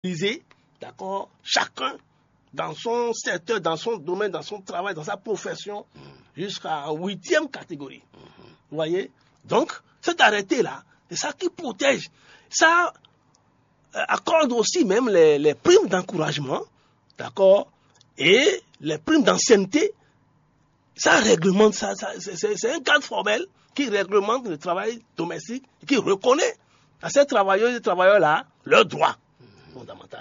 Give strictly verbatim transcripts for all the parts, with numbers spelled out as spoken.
Divisé, d'accord, chacun dans son secteur, dans son domaine, dans son travail, dans sa profession, jusqu'à huitième catégorie. Vous voyez? Donc, cet arrêté-là, c'est ça qui protège. Ça euh, accorde aussi même les, les primes d'encouragement, d'accord, et les primes d'ancienneté. Ça réglemente, ça, ça- c'est c'est- c'est un cadre formel qui réglemente le travail domestique, qui reconnaît à ces travailleurs et travailleurs-là leurs droits fondamentaux.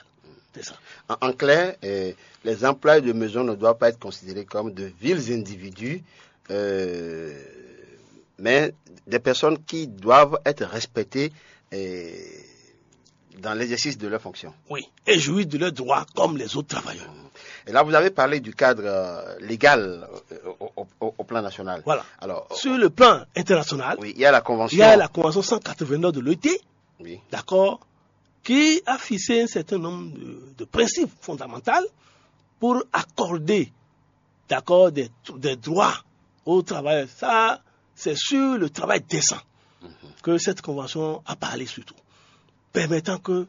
C'est ça. En, en clair, euh, les employés de maison ne doivent pas être considérés comme de vils individus, euh, mais des personnes qui doivent être respectées euh, dans l'exercice de leurs fonctions. Oui. Et jouir de leurs droits comme les autres travailleurs. Et là, vous avez parlé du cadre euh, légal euh, au, au- au- au plan national. Voilà. Alors, Sur le plan international, oui, il y a la convention. Il y a la Convention cent quatre-vingt-neuf de l'O I T, Oui. D'accord, qui a fixé un certain nombre de, de principes fondamentaux pour accorder, d'accord, des, des droits aux travailleurs. Ça, c'est sur le travail décent que cette convention a parlé surtout, permettant que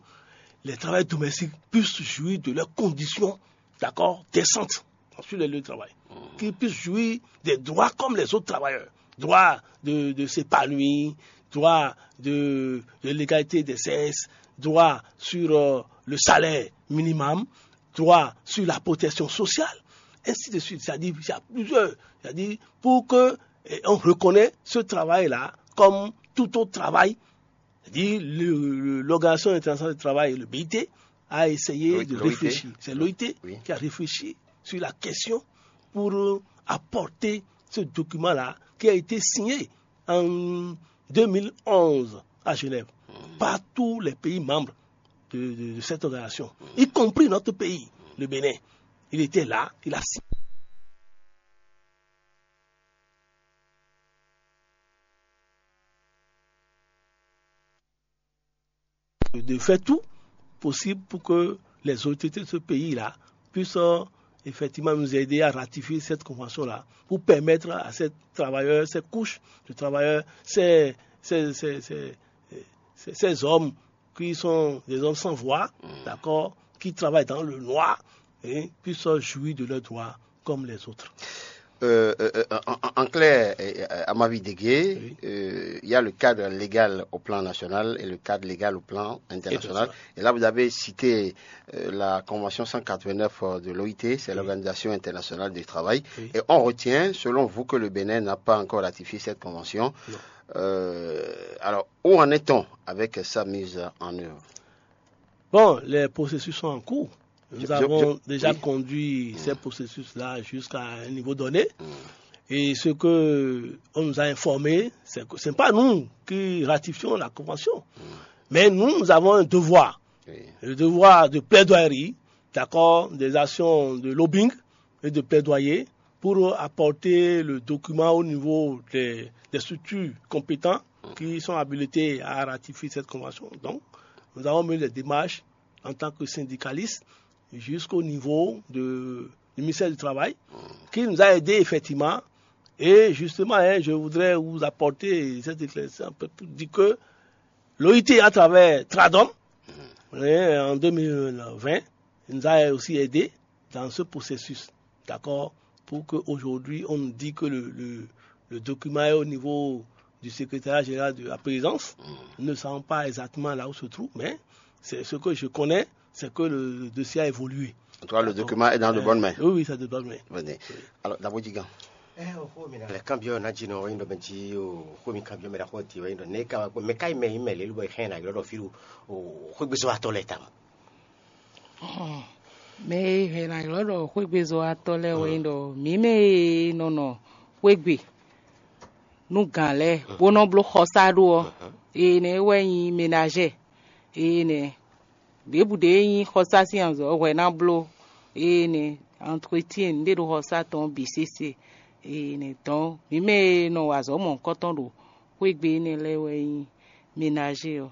les travailleurs domestiques puissent jouir de leurs conditions, d'accord, décentes sur les lieux de travail, qu'ils puissent jouir des droits comme les autres travailleurs, droit de, de s'épanouir, droit de, de l'égalité des sexes, droit sur euh, le salaire minimum, droit sur la protection sociale, ainsi de suite. C'est-à-dire, il y a plusieurs. C'est-à-dire, pour que eh, on reconnaît ce travail-là comme tout autre travail, c'est-à-dire le- le- l'Organisation internationale du travail, le B I T, a essayé Oui, de l'O I T. Réfléchir. C'est l'O I T Oui. Qui a réfléchi sur la question pour euh, apporter ce document-là qui a été signé en deux mille onze à Genève par tous les pays membres de, de- de cette organisation, y compris notre pays, le Bénin. Il était là, il a signé. De faire tout possible pour que les autorités de ce pays-là puissent euh, effectivement nous aider à ratifier cette convention-là pour permettre à ces travailleurs, ces couches de travailleurs, ces, ces, ces- ces- ces- ces hommes qui sont des hommes sans voix, d'accord, qui travaillent dans le noir, hein, puissent jouir de leurs droits comme les autres. Euh, euh, euh, en, en- en clair, euh, euh, à ma vie dégué, euh, il y a le cadre légal au plan national et le cadre légal au plan international. Et là, vous avez cité euh, la Convention cent quatre-vingt-neuf de l'O I T, c'est l'Organisation internationale du travail. Et on retient, selon vous, que le Bénin n'a pas encore ratifié cette convention. Euh, alors, où en est-on avec sa mise en œuvre? Bon, les processus sont en cours. Nous Je- je- avons je- déjà oui. Conduit ces processus-là jusqu'à un niveau donné. Et ce que on nous a informé, c'est que ce n'est pas nous qui ratifions la convention. Mais nous, nous avons un devoir. Oui. Le devoir de plaidoirie, d'accord, des actions de lobbying et de plaidoyer pour apporter le document au niveau des, des structures compétentes qui sont habilitées à ratifier cette convention. Donc, nous avons mené des démarches en tant que syndicalistes jusqu'au niveau de, du ministère du Travail, qui nous a aidés effectivement. Et justement, hein, je voudrais vous apporter cette éclaircissement un peu pour dire que l'O I T, à travers Tradom, hein, en deux mille vingt, nous a aussi aidés dans ce processus, d'accord, pour qu'aujourd'hui, on nous dit que le, le- le document est au niveau du secrétariat général de la présidence. Nous ne savons pas exactement là où se trouve, mais c'est ce que je connais, c'est que le, le dossier a évolué. En tout cas, le document est dans de bonnes mains. Oui, oui, c'est de bonnes mains. Venez. Alors, d'abord, Digan. Ɛ o xó mi na lɛ kanbyɔ na dzi nɔ wɛnyi ɖɔ mɛ dzi o xó mi kanbyɔ mɛ ɖa xɔ ti wɛnyi ɖɔ ne ka wɛ mɛ ka yi mɛ yi mɛ lelu bɔ yi xɛn na ylɔ ɖɔ fi ɖo o xó gbèsè wa tɔ lɛ tam. Mɛ e hɛn na ylɔ ɖɔ xwégbezɔwatɔ́ lɛ́ɛ wɛ nyí ɖɔ mǐ mɛ e nɔ nɔ xwégbe nú gǎn lɛ́ɛ bó nɔ bló xɔsá ɖó ɔ́, énɛ́ wɛ nyí menazɛ́. Énɛ́ ɖěbǔ ɖé nyí xɔsá sín azɔ̌ hwɛ ná bló. Énɛ́ antretien ɖé ɖo xɔsá tɔn bǐ sésé. Énɛ́ dɔn mǐ mɛ e nɔ wa azɔ̌ mɔ̌hunkɔtɔn ɖo xwégbe énɛ́ lɛ́ɛ wɛ nyí menazɛ́ ɔ́.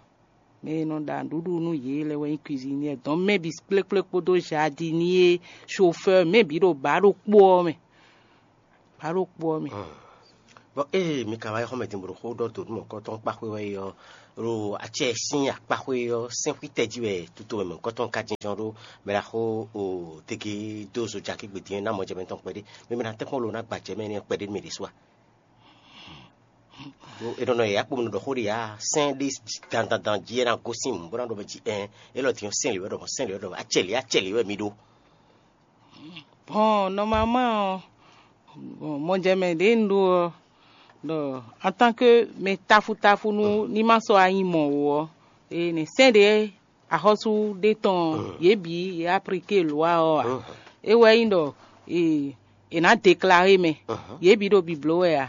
Mɛ e nɔ ɖa nǔɖuɖu nú yě lɛ́ɛ wɛ nyí cuisinier dɔn mɛ bǐ kplékplé kpódó jardinier, chauffeur, mɛ bǐ ɖo bǎ ɖokpó ɔ́ mɛ. Bǎ ɖokpó ɔ́ mɛ. Bɔ ée mi ka wá yi xɔ́mɛ din bó ɖo xó ɖɔ dǒ nú mɔ̌hunkɔtɔn kpáxwé wɛ é ɔ́, ɖo acɛ sín akpáxwé ɔ́, sɛ́nxwítɛ́ jí wɛ tutomɛ mɔ̌hunkɔtɔn ka jínjɔ́n ɖó mɛ ɖaxó o tege dó zo jakí gbedin ná mɔjɛmɛ tɔn kpɛɖé. Mi mɛ ná tɛ́nkpɔ́n lo ná gbajɛ mɛ énɛ́ kpɛɖé nú mɛ ɖésú a? Ɖó è nɔ nɔ yě akpo mi nɔ ɖɔ xó ɖe ǎ, sɛ́n ɖé dandandan jí é ná gosín mǔ bó ná ɖɔ mɛ jí ɛn, élɔ́ din ɔ́, sɛ́n lě wɛ ɖɔ mɔ̌, sɛ́n lě wɛ ɖɔ mɔ̌, acɛ lě, acɛ lě wɛ mi ɖó. Bon, normalement ɔ́, bon, mɔjɛmɛ ɖě un ɖó ɔ́, ɖɔ en tant que mɛ táfútáfú nú ní ma sɔ́ wá nyí mɔ̌ ó ɔ́, e nɛ sɛ́n ɖě axɔ́sú ɖé tɔn ɔ́, yě bǐ yě aplikée lwa ɔ́ ǎ. É wɛ nyí ɖɔ è nǎ deklare mɛ, yě bǐ ɖo bibló wɛ ǎ.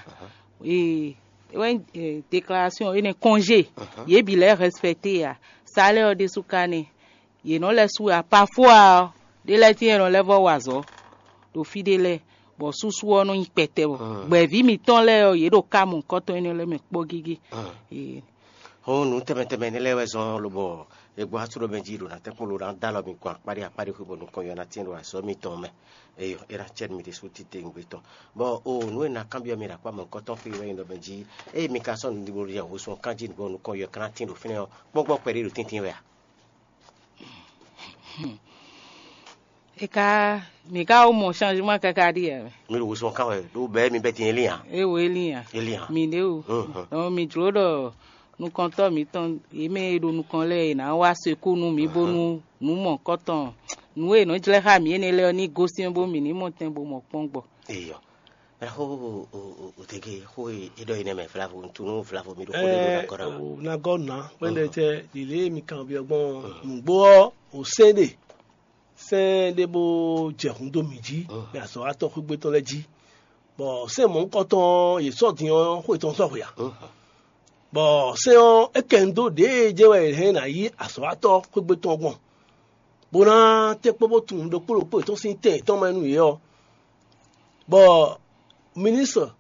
E é wɛ nyí déclaration énɛ́ congé, yě bǐ lɛ́ respecté ǎ. Salɛ́ ɔ́ ɖésú ka nɛ́. Yě nɔ lɛ́ sú wɛ a, parfois ɔ́, ɖé lɛ́ɛ tíin e nɔ lɛ́ vɔ́ wa azɔ̌ ɖo fí ɖé lɛ́ɛ, bɔ súsú ɔ́ nɔ nyí kpɛtɛ bɔ gbɛ̌ví mǐtɔn lɛ́ɛ ɔ́, yě ɖo ká mɔ̌hunkɔtɔn énɛ́ lɛ́ɛ mɛ kpɔ́ gégé. Hɔn nǔ tɛnmɛ tɛnmɛ énɛ́ lɛ́ɛ wɛ zɔ́n lobɔ è gbɔ atú ɖɔ mɛ jí ɖo ná tɛ́nkpɔ́n lo ná dó alɔ mi gbɔn akpáɖé akpáɖé xwé bɔ nukɔn yɔ ná tín ɖo azɔ̌ mitɔn mɛ. Eyɔ, é ná cɛ mi ɖésú titewungbe tɔn. Bɔ o nǔ e ná kanbyɔ́ mi ɖo akpá mɔ̌hunkɔtɔn xwé wɛ nyí ɖɔ mɛ jí, eye mi ka sɔ́ nǔɖuɖu ɖi hǔsú kan jí bɔ nukɔn yɔ ká ná tín ɖo fínɛ́ ɔ́, kpɔ́ngbɔ́n kpɛɖé ɖo tíntín wɛ a? E ka mǐ ka wó mɔ changement káká ɖíe wɛ. Mi ɖo wosɔn kan wɛ ɖó bɛɛ mi bɛ tin elin a? E wo elin a? Elin a? Mi ɖe o. Mhm. Donc mi jló ɖɔ nukɔntɔ́ mǐtɔn yě mɛ e ɖo nukɔn lɛ́ɛ è nǎ wá sekú nú mǐ bónú nǔ mɔ̌kɔtɔn nǔ e è nɔ jlɛ́ xá mǐ énɛ́ lɛ́ɛ ɔ́ ní gosín bó mǐ ní mɔ tɛn bó mɔ kpɔ́n gbɔ. Eyɔ. Mɛ xó o tege xó e é ɖɔ yi nɛ mɛ vlavo ŋutu nú vlavo mi ɖo xó ɖé ɖo nakɔ ɖa. O na gɔ na kpɛɖɛ tɛ lile mi kan biɔ gbɔn nugbo ɔ o sɛn ɖe sɛn ɖe bó jɛ hun dó mi jí mɛ azɔ̌watɔ́ xwégbé tɔn lɛ́ɛ jí, bɔ sɛn mɔ̌hunkɔtɔn ɔ́ yě sɔ́ din ɔ́ xó yětɔn sɔ́ xwe ǎ. Bɔ sɛn ɔ́ é kɛ nu dó ɖěe jɛ́n wɛ è hɛn ná yí azɔ̌watɔ́ xwégbé tɔn gbɔn, bó ná tɛ́nkpɔ́n bó tunwun ɖokpó ɖokpó yětɔn sín tɛn yětɔn mɛ nú yě ɔ́. Bɔ ministre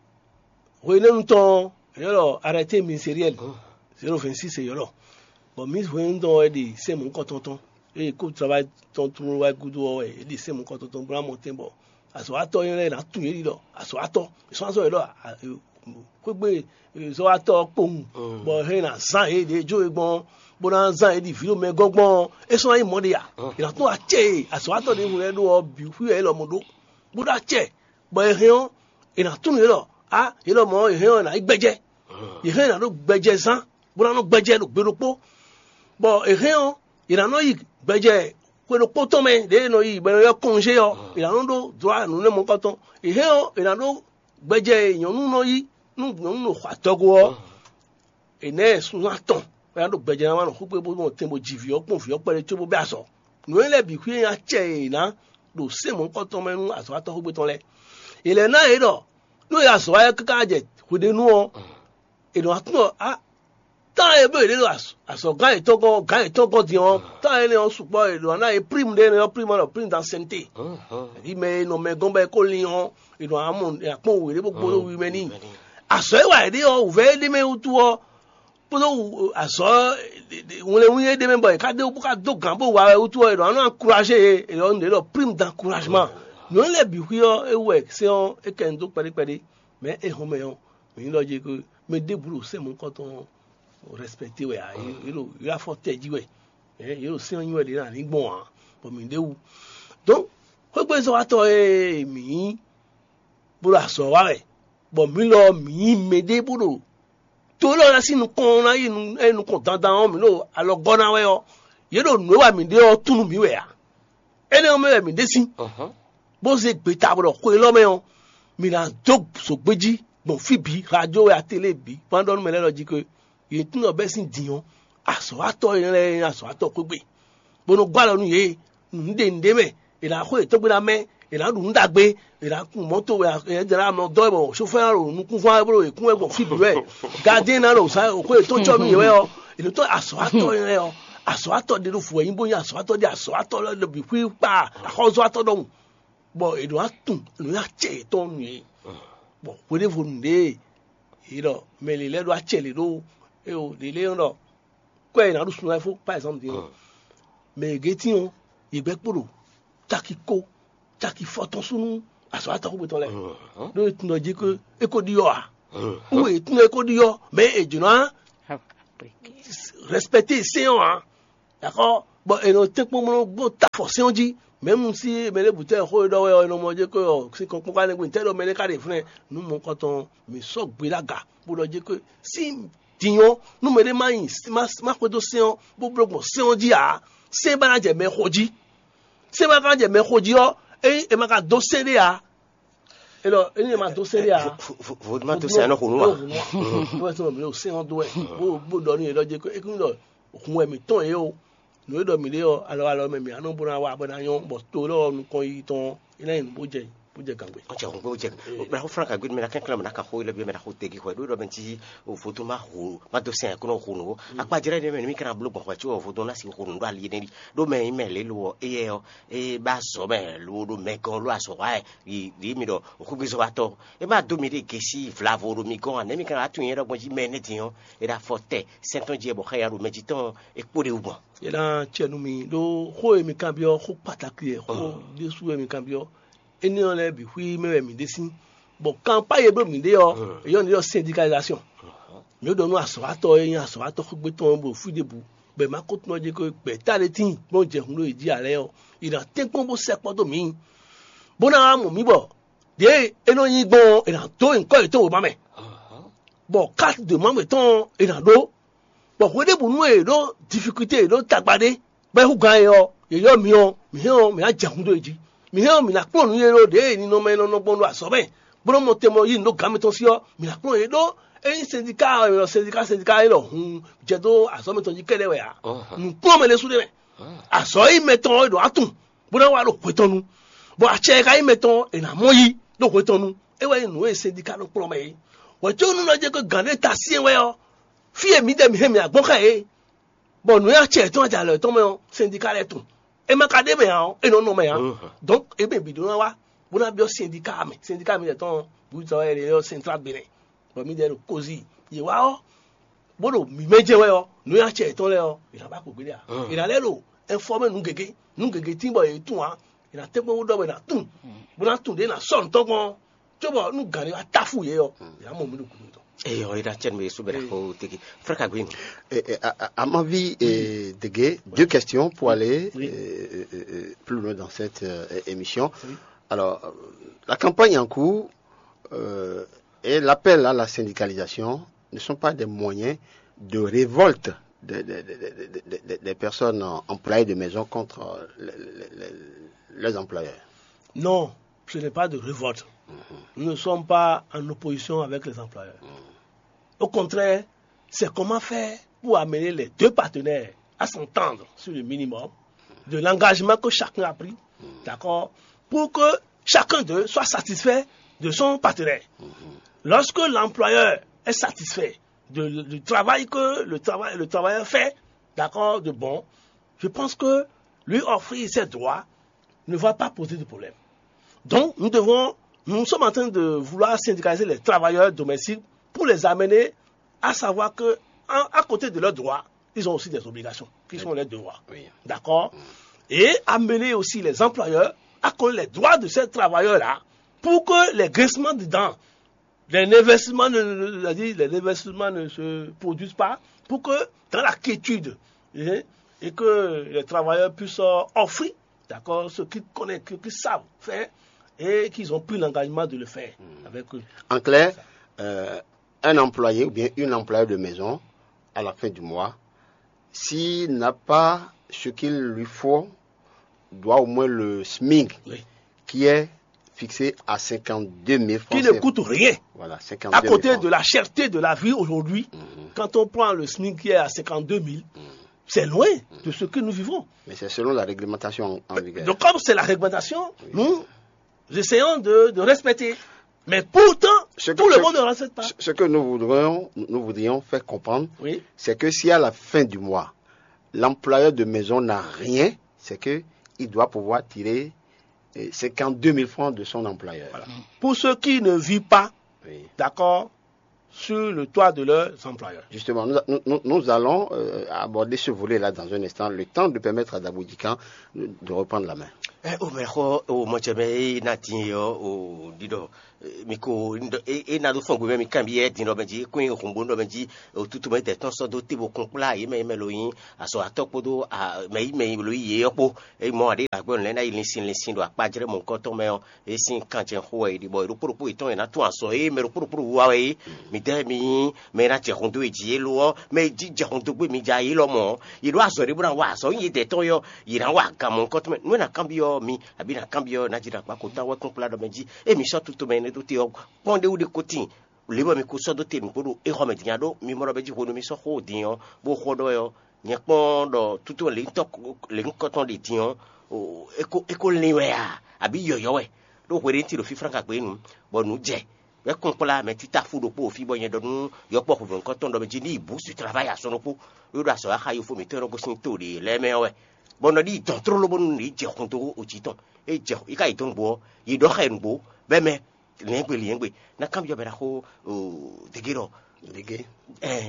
hwenɛ́nu tɔn ɔ́, è ylɔ́ ɖɔ arrêté ministériel zéro vingt six è ylɔ́. Bɔ ministre hwenɛ́nu tɔn ɔ́, é ɖi sɛ́n mɔ̌hunkɔtɔn tɔn, ée kó travail tɔn tlóló wá gúdo ɔ́ wɛ é ɖi sɛ́n mɔ̌hunkɔtɔn tɔn bó ná mɔ tɛn bɔ azɔ̌watɔ́ nyɔ́ lɛ́ɛ ná tunwun yě ɖi ɖɔ azɔ̌watɔ́ è sɔ́ azɔ́ yě ɖɔ xwégbé zɔ́watɔ́ ɔ́ kpowun, bɔ hɛn ná zán yě ɖě jó e gbɔn bó ná zán yě ɖi vǐ ɖo mɛ gɔ́n gbɔn ɔ́, é sɔ́ ná nyí mɔ̌ ɖe a? È nǎ tún acɛ e azɔ̌watɔ́ ɖěvo lɛ́ɛ ɖó ɔ́ bǐ xwí wɛ é lɔmɔ̌ ɖó, bó ɖó acɛ, bɔ è hɛn ɔ́, è nǎ tunwun yě ɖɔ á yě lɔmɔ̌ ɔ́, è hɛn ɔ́, è nǎ nyí gbɛjɛ. È hɛn è nǎ ɖó gbɛjɛ zán, bó ná nɔ́ gbɛjɛ ɖo gbe ɖokpó. Bɔ è hɛn ɔ́, è nǎ nɔ yi gbɛjɛ xwe ɖokpó tɔn mɛ ɖě è nɔ yi bɔ è nɔ ylɔ́ kɔnzé ɔ́, è nǎ nɔ ɖó dlɔ̌ nǔ nɛ́ mɔ̌kɔtɔn. È hɛn ɔ́, è nǎ ɖó gbɛjɛ e nyɔ̌nu nɔ yí nú nyɔ̌nu ɖo xɔ adɔgo ɔ́, è nɛ̌ sunzán tɔn bó ná ɖo gbɛjɛ ná wá nɔ xwígbe bó nɔ tɛn bó ji vǐ ɔ́ kpɔ́n vǐ ɔ́ kpɛɖé có bó bɛ́ azɔ̌. Nǔ énɛ́ lɛ́ɛ bǐ xwí e nyí acɛ e è nǎ ɖo sɛ́n mɔ̌hunkɔtɔn mɛ nú azɔ̌watɔ́ xwígbe tɔn lɛ́ɛ. È lɛ̌ ná yě ɖɔ nú è azɔ̌ wa káká jɛ hweɖénu ɔ́, è nɔ wá tunwun ɖɔ á tán e bló yě ɖe ɖo azɔ̌gán yětɔn gɔ́n gán yětɔn gɔ́n din ɔ́, tán énɛ́ ɔ́ sukpɔ́ è ɖǒ ná ná yě prime ɖé énɛ́ ɔ́ prime ɔ́ ɖɔ prime d'ansiɛnité. Yí mɛ e nɔ mɛ gɔ́n bɔ é kó lin ɔ́, è nɔ amɔ akpɔ́n wěɖé bó gbo ɖó wi mɛ n'i. Azɔ̌ e wa yě ɖe ɔ́, wǔvɛ́ e ɖ'é mɛ wútu ɔ́, kpódó azɔ̌ wlɛnwí e ɖ'é mɛ bɔ è ka ɖe bó ka dó gǎn bó wa wɛ wútu ɔ́, è ɖɔ ná nɔ ankuraze yě, è ɖɔ nǔɖé ɖɔ prime d'encouragement. Nǔ lɛ́ɛ bǐ xwí ɔ́, é wɛ sɛ́n ɔ́ é kɛ nu dó kpɛɖé kpɛɖé. Mɛ é hɔn mɛ ɔ́, mǐ ɖɔ jí kó mɛ ɖěbǔ ɖo sɛ́n mɔ̌hunkɔtɔn tɔn respecté wɛ ǎ, yě ɖo yě afɔ tɛ jí wɛ, yě ɖo sɛ́n ɔ́ nyi wɛ ɖě ná ní gbɔn ǎ, bɔ mǐ ɖe wú. Donc xwégbezɔ́watɔ́ e mǐ nyí bó ɖo azɔ̌ wa wɛ, bɔ mǐ lɔ mǐ nyí mɛɖé bó ɖo to élɔ́ ná sín nukɔn ná yi nukɔn dandan ɔ́, mǐ ɖo alɔgɔ́ ná wɛ ɔ́, yě ɖo nǔ e wa mǐ ɖe ɔ́ tunú mǐ wɛ ǎ. Énɛ́ ɔ́ mɛ wɛ mǐ ɖe sín, bó zé gbeta bɔ ɖɔ xwe élɔ́ mɛ ɔ́, mǐ ná dó zǒgbé jí gbɔn fí bǐ, radio wɛ, atélé bǐ, kpán ɖɔ nú mɛ lɛ́ɛ lɔ jí ké. Yě tunwun ɖɔ bɛ́ sín din ɔ́, azɔ̌watɔ́ énɛ́ lɛ́ɛ nyí azɔ̌watɔ́ xwégbé, bó nɔ́ gɔ́ alɔ nú yě, nǔɖé nǔɖé mɛ, è nǎ xo yě tɔ́gbé ná mɛ, è nǎ ɖu nǔ ɖagbe, è nǎ kun mɔ̌to, è nǎ jɛ ná mɔ dɔ́ wɛ bɔ xófɛ́ ná ɖo nukún fán wɛ bó ɖo yě kún wɛ gbɔn fí bǐ wɛ. Gadɛ́n ná ɖo zǎn xó yětɔn cɔ́ nú yě wɛ ɔ́, è nɔ tɔ́ azɔ̌watɔ́ énɛ́ lɛ́ɛ ɔ́, azɔ̌watɔ́ ɖé ɖo fǔ wɛ nyí bó nyí azɔ̌watɔ́ ɖé, azɔ̌watɔ́ lɛ́ɛ ɖo bǐ xwí kpa axɔ́zɔ́watɔ́ ɖɔhun, bɔ è ɖǒ ná tunwun nǔ nyi acɛ yětɔn nú yě. Bɔ hweɖěvo nǔɖé e yě ɖɔ mɛ lě lɛ́ɛ ɖó acɛ lě ɖó eo ɖě lɛ́ɛ ɖɔ kwɛ́ è nǎ ɖu sun wɛ fó, par exemple din ɔ́, mɛ e gětín ɔ́, yě gbɛ́ kpo ɖo caki kó caki fɔtɔn sú nú azɔ̌watɔ́ xwé tɔn lɛ́ɛ, ɖó è tunwun ɖɔ jí é ko ɖiɔ ǎ. Ou e tún e ko ɖi ɔ́, mɛ e jǒ ná respecter sɛn ɔ́ ǎ. D'accord? Bon, e nɔ tɛ́nkpɔ́n bó nɔ gbɔn ta fɔ sɛn ɔ́ jí. Même si mɛ ɖé bǔtɛ xó e ɖɔ wɛ ɔ́, e nɔ mɔ jɛ ko ɔ, si kɔn kpɔ́n ka nɛgbé ntɛ́ ɖɔ mɛ ɖé ka ɖe vlɛ́ nú mɔkɔtɔn, mǐ sɔ́ gbe ɖó aga bó ɖɔ jɛ ko si din ɔ́, nú mɛ ɖé má nyi má má xwedó sɛn ɔ́, bó bló gbɔn sɛn ɔ́ jí ǎ, sɛn ba ná jɛ mɛ xo jí. Sɛn ba ka jɛ mɛ xo jí ɔ́, ényí è ma ka dó sɛn ɖé ǎ, é ɖɔ ényí è ma dó sɛn ɖé ǎ, voduma dó sɛn anɔ xo nú wa. Wɛ sɔn mi ɖo sɛn ɔ́ dó wɛ, bó bó ɖɔ nú yě ɖɔ jɛ ko é kún ɖɔ hun wɛ mǐtɔn yě o. Nǔ e ɖɔ mǐ ɖe ɔ́, alɔ alɔ mɛ mǐ á nɔ bó ná wa bɔ ná nyɔ́, bɔ to lɔ ɔ́ nukɔn yiyi tɔn ɔ́, é ná nyi nǔ bó jɛ bó jɛ gǎngbé. Ɔtsɛ hun gbé jɛ. Bla xó fúnra kagbe mɛ na kɛnklɛn mɛ na ka xó ilé bi mɛ na xó tegi xɔ ɖó ɖɔ mɛ ti o foto ma ho ma dó sɛn kúnɔ ho nǔ. Akpa jɛrɛ ɖe mɛ mi kana bló gbɔn xɔ tso foto na si ho nǔ ɖo ali ne ɖi. Ɖó mɛ yi mɛ lé lo ɔ, eyɛ ɔ, e ba zɔ mɛ lo ɖo mɛ gɔn lo azɔ wa yi ɖi mi ɖɔ o xúgbé zɔ wa tɔ. E ma dó mi ɖe gesi vlavo ɖo mi gɔn a nɛ mi kana atun yɛ ɖɔ gbɔn jí mɛ ne din ɔ, e ɖa fɔ tɛ sɛntɔn jí bɔ xɛ ya ɖo mɛ jí tɔn e kpo ɖe wu gbɔn. Yě ná acɛ nú mi ɖó xó e mi kanbyɔ́ xó kpatákli wɛ, xó ɖésú wɛ mi kanbyɔ́. Énɛ́ ɔ́ lɛ́ɛ bǐ xwí mɛ wɛ mǐ ɖe sín, bɔ kanpá e bló mǐ ɖe ɔ́, è yɔ́ nǔ ɖɔ syndicalisation. Mǐ ɖɔ nú azɔ̌watɔ́ e nyí azɔ̌watɔ́ xwé tɔn bɔ fí ɖěbǔ, bɔ è ma ko tunwun ɔ́ jɛ ko gbɛ̌ta ɖé tíin bó jɛ hun ɖó yě jí ǎ lɛ́ɛ ɔ́, è nǎ tɛ́nkpɔ́n bó sɛkpɔ́ dó mǐ, bó ná wá mɔ mǐ bɔ ɖěe é nɔ nyí gbɔn ɔ́, è nǎ dó nyǐkɔ yětɔn wěma mɛ, bɔ carte de membre tɔn ɔ́, è nǎ ɖó. Bɔ hweɖěbǔnu e è ɖó difikulté, è ɖó tagba ɖé, bɔ é hú gǎn e ɔ́, yě ylɔ́ mi ɔ́, mǐ hɛn ɔ́, mǐ ná jɛ hun dó yě jí. Mǐ hɛn ɔ́, mǐ ná kplɔ́n nǔ e ɖó ɖěe ninɔmɛ e nɔ nɔ gbɔn ɖo azɔ̌ mɛ, bó nɔ́ mɔ tɛn mɔ yí nǔ dó gǎn mitɔn sí ɔ́, mǐ ná kplɔ́n yě ɖó. Ényí sɛndiká ɔ́, è nɔ sɛndiká sɛndiká é ɖɔ hun jɛ dó azɔ̌ mitɔn jí kɛ́ɖɛ́ wɛ ǎ. Nǔkplɔ́nmɛ ɖésú ɖé mɛ. Azɔ̌ e nyí mɛtɔn ɔ́, è ɖǒ ná tunwun, bó ná wá ɖo hwe tɔn nu, bɔ acɛ e ka nyí mɛtɔn ɔ́, è nǎ mɔ yí ɖo hwe tɔn nu. É wɛ nyí nǔ e sɛndiká nɔ kplɔ́n mɛ é. Hwɛ̌cónú nɔ jɛ ko gǎn ɖé ta syɛ́n wɛ ɔ́, fí e mǐdɛɛ mǐ hɛn mǐ wá gbɔn xá yě, bɔ nǔ e acɛ yětɔn ajalɔ yětɔn mɛ ɔ́, sɛndiká lɛ́ɛ tunwun. É ma ka ɖ'é mɛ ǎ ɔ́, é nɔ nɔ mɛ ǎ. Donc é mɛ bǐ ɖó ná wá bó ná byɔ́ sɛndiká mɛ, sɛndiká mǐdɛɛ tɔn ɔ́, bǔ tɔn wɛ è ylɔ́ sɛntrál Benɛ́, bɔ mǐdɛɛ ɖo kozí. Yě wá ɔ́, bó ɖo mǐmɛ́ jɛ wɛ ɔ́, nǔ e acɛ yětɔn lɛ́ɛ ɔ́, è nǎ ba kpǒ gbéɖé ǎ. È nǎ lɛ́ ɖo ɛnfɔ́mɛ nǔ gěgé, nǔ gěgé tín bɔ yě tunwun ǎ. È nǎ tɛ́nkpɔ́n wú ɖɔ bɔ è nǎ tunwun, bó ná tunwun ɖě è nǎ sɔ́ nǔ tɔn gbɔn ɔ́, cóbɔ nú gǎn ɖé wá táfú yě ɔ́, yě ná mɔ mǐ ɖo gǔdo tɔn. Et on est dans le thème de Soubera Koteki. Frère Kagwin. Et, et, à, à- à mon avis, et, Dégué, deux questions pour aller Oui. euh, euh, euh, plus loin dans cette euh, émission. Oui. Alors, euh, la campagne en cours euh, et l'appel à la syndicalisation ne sont pas des moyens de révolte des, des- des- des- des- des- des personnes euh, employées de maison contre euh, les- les- les- leurs employeurs. Non, ce n'est pas de révolte. Nous ne sommes pas en opposition avec les employeurs. Au contraire, c'est comment faire pour amener les deux partenaires à s'entendre sur le minimum de l'engagement que chacun a pris, d'accord, pour que chacun d'eux soit satisfait de son partenaire. Lorsque l'employeur est satisfait de- du travail que le, travail, le travailleur fait, d'accord, de bon, je pense que lui offrir ses droits ne va pas poser de problème. Donc, nous devons, nous sommes en train de vouloir syndicaliser les travailleurs domestiques pour les amener à savoir que, en- à côté de leurs droits, ils ont aussi des obligations, qui sont les devoirs. Oui. D'accord. Et amener aussi les employeurs à connaître les droits de ces travailleurs-là pour que les grincements de dents, les investissements ne, ne- c'est-à-dire les investissements ne se produisent pas, pour que dans la quiétude hein, et que les travailleurs puissent euh, offrir, d'accord, ce qu'ils connaissent, ce qu'ils savent faire et qu'ils ont pris l'engagement de le faire avec eux. En clair, euh, un employé ou bien une employée de maison, à la fin du mois, s'il n'a pas ce qu'il lui faut, doit au moins le SMIC Oui. qui est fixé à cinquante-deux mille francs Qui ne C F A. Coûte rien. Voilà, cinquante-deux mille À côté francs. De la cherté de la vie aujourd'hui, quand on prend le SMIC qui est à cinquante-deux mille, c'est loin de ce que nous vivons. Mais c'est selon la réglementation en, en vigueur. Donc, comme c'est la réglementation, nous essayons de, de respecter. Mais pourtant, ce que, tout le ce, monde ne respecte pas. Ce que nous voudrions, nous voudrions faire comprendre, oui. C'est que si à la fin du mois, l'employeur de maison n'a rien, c'est que il doit pouvoir tirer euh, cinquante-deux mille francs de son employeur. Voilà. Pour ceux qui ne vivent pas, oui. D'accord, sur le toit de leurs employeurs. Justement, nous, nous- nous- nous allons euh, aborder ce volet-là dans un instant, le temps de permettre à Dabou Djikan de, de reprendre la main. Ɛ o mɛ xɔ o mɔcɛ mɛ e na din e ɔ o ɖiɖɔ mi ko e na ɖo fɔn gbe mɛ mi kan bi yɛ din ɖɔ mɛ jí kún hunbo ɖɔ mɛ jí o tutu mɛ tɛ tɔn sɔ́ dó te bo kún kplá yě mɛ yě mɛ lo nyí azɔ atɔ́ kpódó mɛ yí mɛ lo yí yě ɔ́ kpó. E mɔ aɖé agbɛ́ lɛ́ ná yi linsin linsin ɖo akpajlɛ́ mɔ̌hunkɔtɔn mɛ ɔ́, e sín kanjɛ xó wɛ è ɖi bɔ ɖokpó ɖokpó yětɔn è nǎ tún azɔ̌ e mɛ ɖokpó ɖokpó ɖo wiwa wɛ é. Midɛɛ mi nyí mɛ e ná jɛ hun dó e jí é lo ɔ́, mɛ e jí jɛ hun dó gbé mi ja é lɔmɔ̌. Yě ɖó azɔ̌ ɖé bó ná wa azɔ̌ nyí yědɛɛ tɔn ɔ́, yě ná wa gan mɔ̌hunkɔtɔn mɛ. Nú è nǎ kanbyɔ́ mi, abǐ è nǎ kanbyɔ́ nǎjínakpákotán wɛ kpɔ́n kplá ɖɔ mɛ jí, émi sɔ́ tutomɛ énɛ́ ɖó te ɔ́, kpɔ́n ɖé wú ɖé ko tíin. Lě bɔ mi ko sɔ́ dó te nǔgbó ɖo é xɔ mɛ din nya ɖó mi mɔ ɖɔ mɛ jí hwenu mi sɔ́ xó din ɔ́, bó xɔ ɖɔ ɛ ɔ́, nyɛ kpɔ́n ɖɔ tútú lěhunkɔtɔn ɖě din ɔ́, é ko lin wɛ a, abǐ yɔ̌yɔ́ wɛ? Ɖó hweɖénu ti ɖo fíflán ka gbé nu, bɔ nǔ jɛ wɛ kún kplá mɛ títá fú ɖokpó fí bɔ nyɛ ɖɔ nú yɔkpɔ́ hwebɛ̌nkɔ́ tɔn ɖɔ mɛ jí ní yi bǔ su travayi asɔn ɖokpó, ɖó ɖo azɔ̌ wa xa yofó mǐtɔn e nɔ gosín to ɖě lɛ́ɛ mɛ ɔ́ wɛ, bɔ nɔ ɖi dɔn tlóló bónú ní jɛ xun dó ojí tɔn. É jɛ yi ka yi dɔn gbo ɔ́, yi ɖɔ xɛ nǔgbó bɛ́ mɛ lɛ̌ngbe lɛ̌ngbe. Ná kanbyɔ́ bɛ ná xó degé ɖɔ Dege.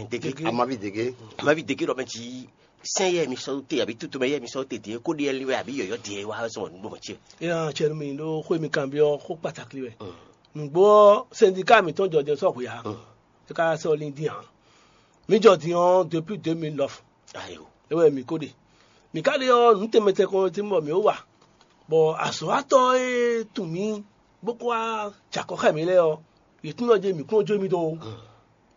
Degé. Amavi Dege. Amavi degé ɖɔ mɛ jí sɛn yɛ mi sɔ́ te abǐ tutu mɛ yɛ mi sɔ́ te din kó ɖi ɛli wɛ abǐ yɔ̌yɔ́ din wá zɔn nǔgbó mɛ ce. Ena cɛ nú mi ɖó xó mi kanbyɔ́ xó kpatakli wɛ. Nǔgbó ɔ́, sɛndika mǐtɔn jɔjɛ sɔ́ hwe ǎ. É ka sɔ́ lin dín ǎ. Mǐ jɔ din ɔ́ depuis deux mille neuf. Ayo. É wɛ mǐ ko ɖe. Mǐ ka ɖe ɔ́, nǔ tɛnmɛ tɛnmɛ tɛnmɛ bɔ mǐ ó wa, bɔ azɔ̌watɔ́ e tunwun mǐ bó ko wá jɛ akɔ xá mǐ lɛ́ɛ ɔ́, yě tunwun ɖɔ jí mǐ kún nɔ jó mì dó ó.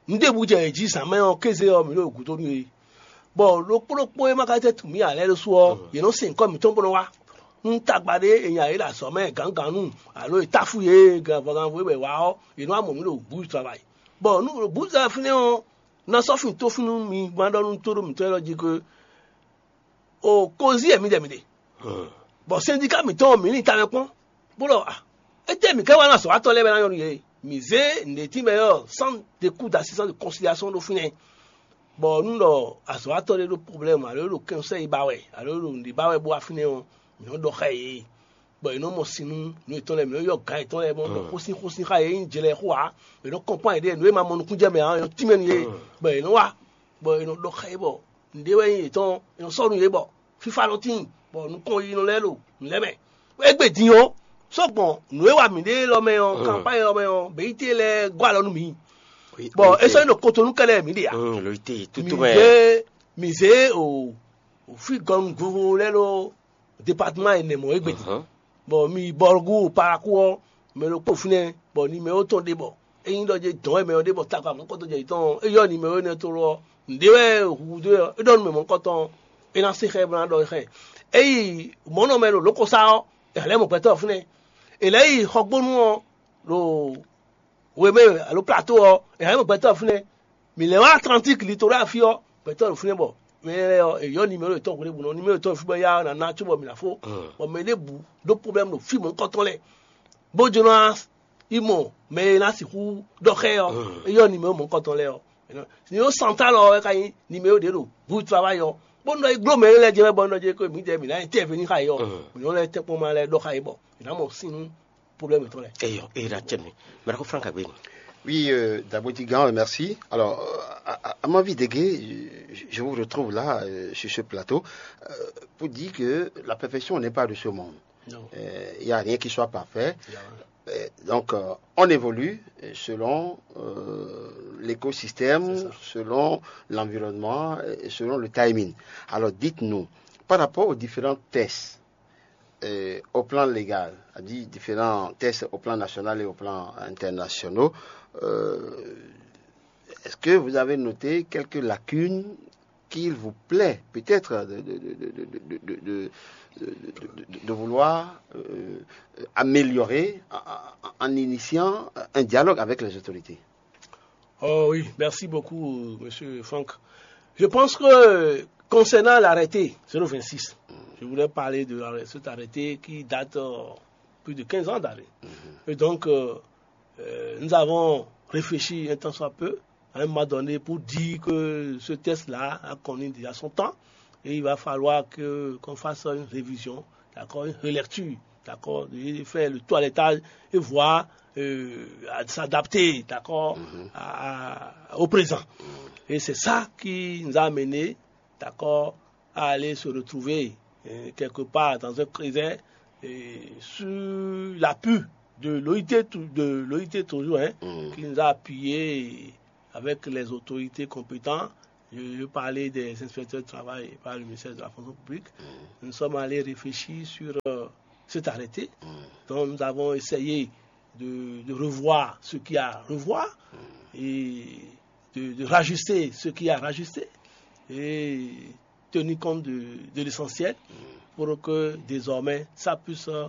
Un ɖěbǔ jɛ yě jí zǎn mɛ ɔ́ kéze ɔ́, mǐ ɖo gǔdo nú yě. Bɔ ɖokpó ɖokpó e ma ka tɛ́ tunwun mǐ ǎ lɛ́ɛ ɖésú ɔ́, yě nɔ se nyǐkɔ mǐtɔn bó nɔ wá. Nú tagba ɖé è nya yě ɖo azɔ̌ mɛ gǎngǎnnú, alo è táfú yě ganvɔganvo e bɔ è wá ɔ́, yě nɔ wá mɔ mǐ ɖo bǔ travayi. Bɔ nú ɖo bǔ travayi fínɛ́ ɔ́, ná sɔ́ fin tó fínú mi ma ɖɔ nú tóɖó mǐtɔn élɔ́ jí ke o kozí e mi ɖɛ mi ɖe, bɔ sɛndika mǐtɔn mi ní tamɛ kpɔn, bó ɖɔ a, étɛ́ mǐ ká wá ná azɔ̌watɔ́ lɛ́ɛ bɛ ná nyɔ́ nú yě? Mǐ zé nǔɖétínmɛ ɔ́, centre de coût d'assistance de conciliation ɖó fínɛ́, bɔ nú ɖɔ azɔ̌watɔ́ ɖé ɖo problème alo é ɖo kɛnsɛ́ yi ba wɛ alo é ɖo nǔɖé ba wɛ bó wá fínɛ́ ɔ́, mǐ nɔ́ ɖɔ xá yě, bɔ è nɔ mɔ sin nú nǔ yětɔn lɛ́ɛ, mǐ nɔ yɔ gǎn yětɔn lɛ́ɛ bɔ nɔ ɖɔ xósin xósin xá yě, nyí jɛ lɛ́ɛ xó ǎ, è nɔ kɔn kpán yěɖée nǔ e ma mɔ nukúnjɛ mɛ ǎ, è nɔ tínmɛ nú yě, bɔ è nɔ wá, bɔ è nɔ ɖɔ xá yě bɔ nǔɖé wɛ nyí yětɔn, è nɔ sɔ́ nú yě bɔ fífá nɔ tíin, bɔ nukɔn yi nɔ lɛ́ɛ ɖo nǔ lɛ́ɛ mɛ. Égbé din ɔ́, sɔ́ gbɔn nǔ e wa mǐ ɖe élɔ́ mɛ ɔ́, kanpá élɔ́ mɛ ɔ́, běyíte lɛ́ɛ gɔ́ alɔ nú mǐ, bɔ é sɔ́ nyí ɖo kotonu kɛ́ lɛ́ɛ mǐ ɖe ǎ. Lǒyité mǐ tútú mɛ. Ɖe mǐ zé o fí gɔnugúngun lɛ́ɛ ɖó departement ɛnɛ mɔ̌ égbé din, bɔ mi yi bɔlgú paraku ɔ́, mɛ ɖokpó fínɛ́, bɔ ni mɛ ó tɔn ɖe bɔ é nyí ɖɔ jɛ dɔn wɛ mɛ ɔ́ ɖe bɔ takɔ amɔ̌kɔtɔn jɛ yětɔn ɔ́, é yɔ ni mɛ ó nɛ́ tló ɔ́, nǔɖé wɛ hǔhúdó ɔ́, é ɖɔ nú mɛ mɔ̌kɔtɔn ɔ́, é ná se xɛ bó ná ɖɔ xɛ. É yi mɔ̌ nɔ mɛ ɖo lǒkɔsá ɔ́, è hɛn lɛ́ mɔ gbɛtɔ́ fínɛ́. È lɛ̌ yi xɔgbónu ɔ́ ɖo wemɛ alo plato ɔ́, è hɛn lɛ́ mɔ gbɛtɔ́ fínɛ́. Mǐ lɛ́ wá Atlantík litolá fí ɔ́, gbɛtɔ́ ɖo fínɛ́ bɔ mɛ lɛ́ɛ ɔ́, è yɔ nimero yětɔn hwenu ɖěbǔ nɔ, nimero yětɔn fí bɔ é yá ná ná cóbɔ mǐ ná fó, bɔ mɛ ɖěbǔ ɖó pɔ́blɛ́mu ɖo fí mɔ̌hunkɔtɔn lɛ́ɛ, bó jló ná yi mɔ mɛ e ná sixú ɖɔ xá ɛ ɔ́, é yɔ nimero mɔ̌hunkɔtɔn lɛ́ɛ ɔ́. Nimero santál ɔ́ wɛ ka nyí nimero ɖě ɖo bǔ travayi ɔ́, bó nɔ yi gló mɛ lɛ́ɛ jɛ mɛ bɔ nɔ jɛ ko mǐdɛɛ mǐ ná nyí tɛ́vě ní xá yɛ ɔ́, mǐ nɔ lɛ́ tɛ́nkpɔ́n ma lɛ́ɛ ɖɔ xá yě bɔ mǐ ná mɔ sín nú problème tɔn lɛ. Eyo, e na cɛ mi. Mara ko Frank Agbeni. Oui, euh, d'abord, Tigan, merci. Alors, euh, à, à- à ma vie de gay, je, je vous retrouve là, euh, sur ce plateau, euh, pour dire que la perfection n'est pas de ce monde. Non. Euh, Il n'y a rien qui soit parfait. Il y a- Euh, donc, euh, on évolue euh, selon euh, l'écosystème, C'est ça. Selon l'environnement, euh, et selon le timing. Alors, dites-nous, par rapport aux différents tests, euh, au plan légal, c'est-à-dire différents tests au plan national et au plan international, euh, est-ce que vous avez noté quelques lacunes qu'il vous plaît peut-être de, de- de- de- de- de- de- de- de- de- de vouloir euh, améliorer en, en- en initiant un dialogue avec les autorités? Oh oui, merci beaucoup, monsieur Franck. Je pense que concernant l'arrêté zéro vingt-six, je voudrais parler de l'arrêt- cet arrêté qui date euh, plus de quinze ans d'arrêt. Et donc, euh, euh, nous avons réfléchi un temps soit peu, à un moment donné, pour dire que ce test-là a connu déjà son temps et il va falloir que qu'on fasse une révision, d'accord, une relecture, d'accord, et faire le toilettage et voir euh, à s'adapter, d'accord, à- à- au présent. Et c'est ça qui nous a amené, d'accord, à aller se retrouver euh, quelque part dans un creuset Et sur l'appui de l'OIT, tou- de l'OIT toujours, hein, qui nous a appuyés avec les autorités compétentes. Je, je parlais des inspecteurs de travail par le ministère de la fonction publique. Nous sommes allés réfléchir sur euh, cet arrêté. Donc nous avons essayé de, de revoir ce qu'il y a à revoir et de, de rajuster ce qu'il y a à rajuster et tenir compte de, de l'essentiel pour que désormais ça puisse euh,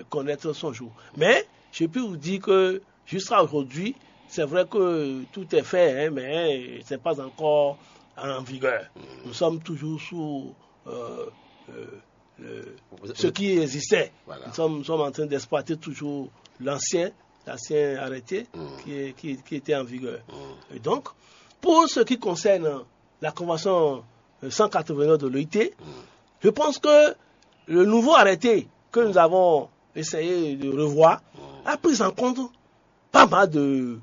connaître son jour. Mais je peux vous dire que jusqu'à aujourd'hui, c'est vrai que tout est fait, hein, mais c'est pas encore en vigueur. Nous sommes toujours sous euh, euh, le- Vous- ce vous- qui existait. Voilà. Nous sommes, nous sommes en train d'exploiter toujours l'ancien, l'ancien arrêté qui, est- qui- qui était en vigueur. Et donc, pour ce qui concerne la convention euh, cent quatre-vingt-neuf de l'OIT, je pense que le nouveau arrêté que nous avons essayé de revoir a pris en compte pas mal de,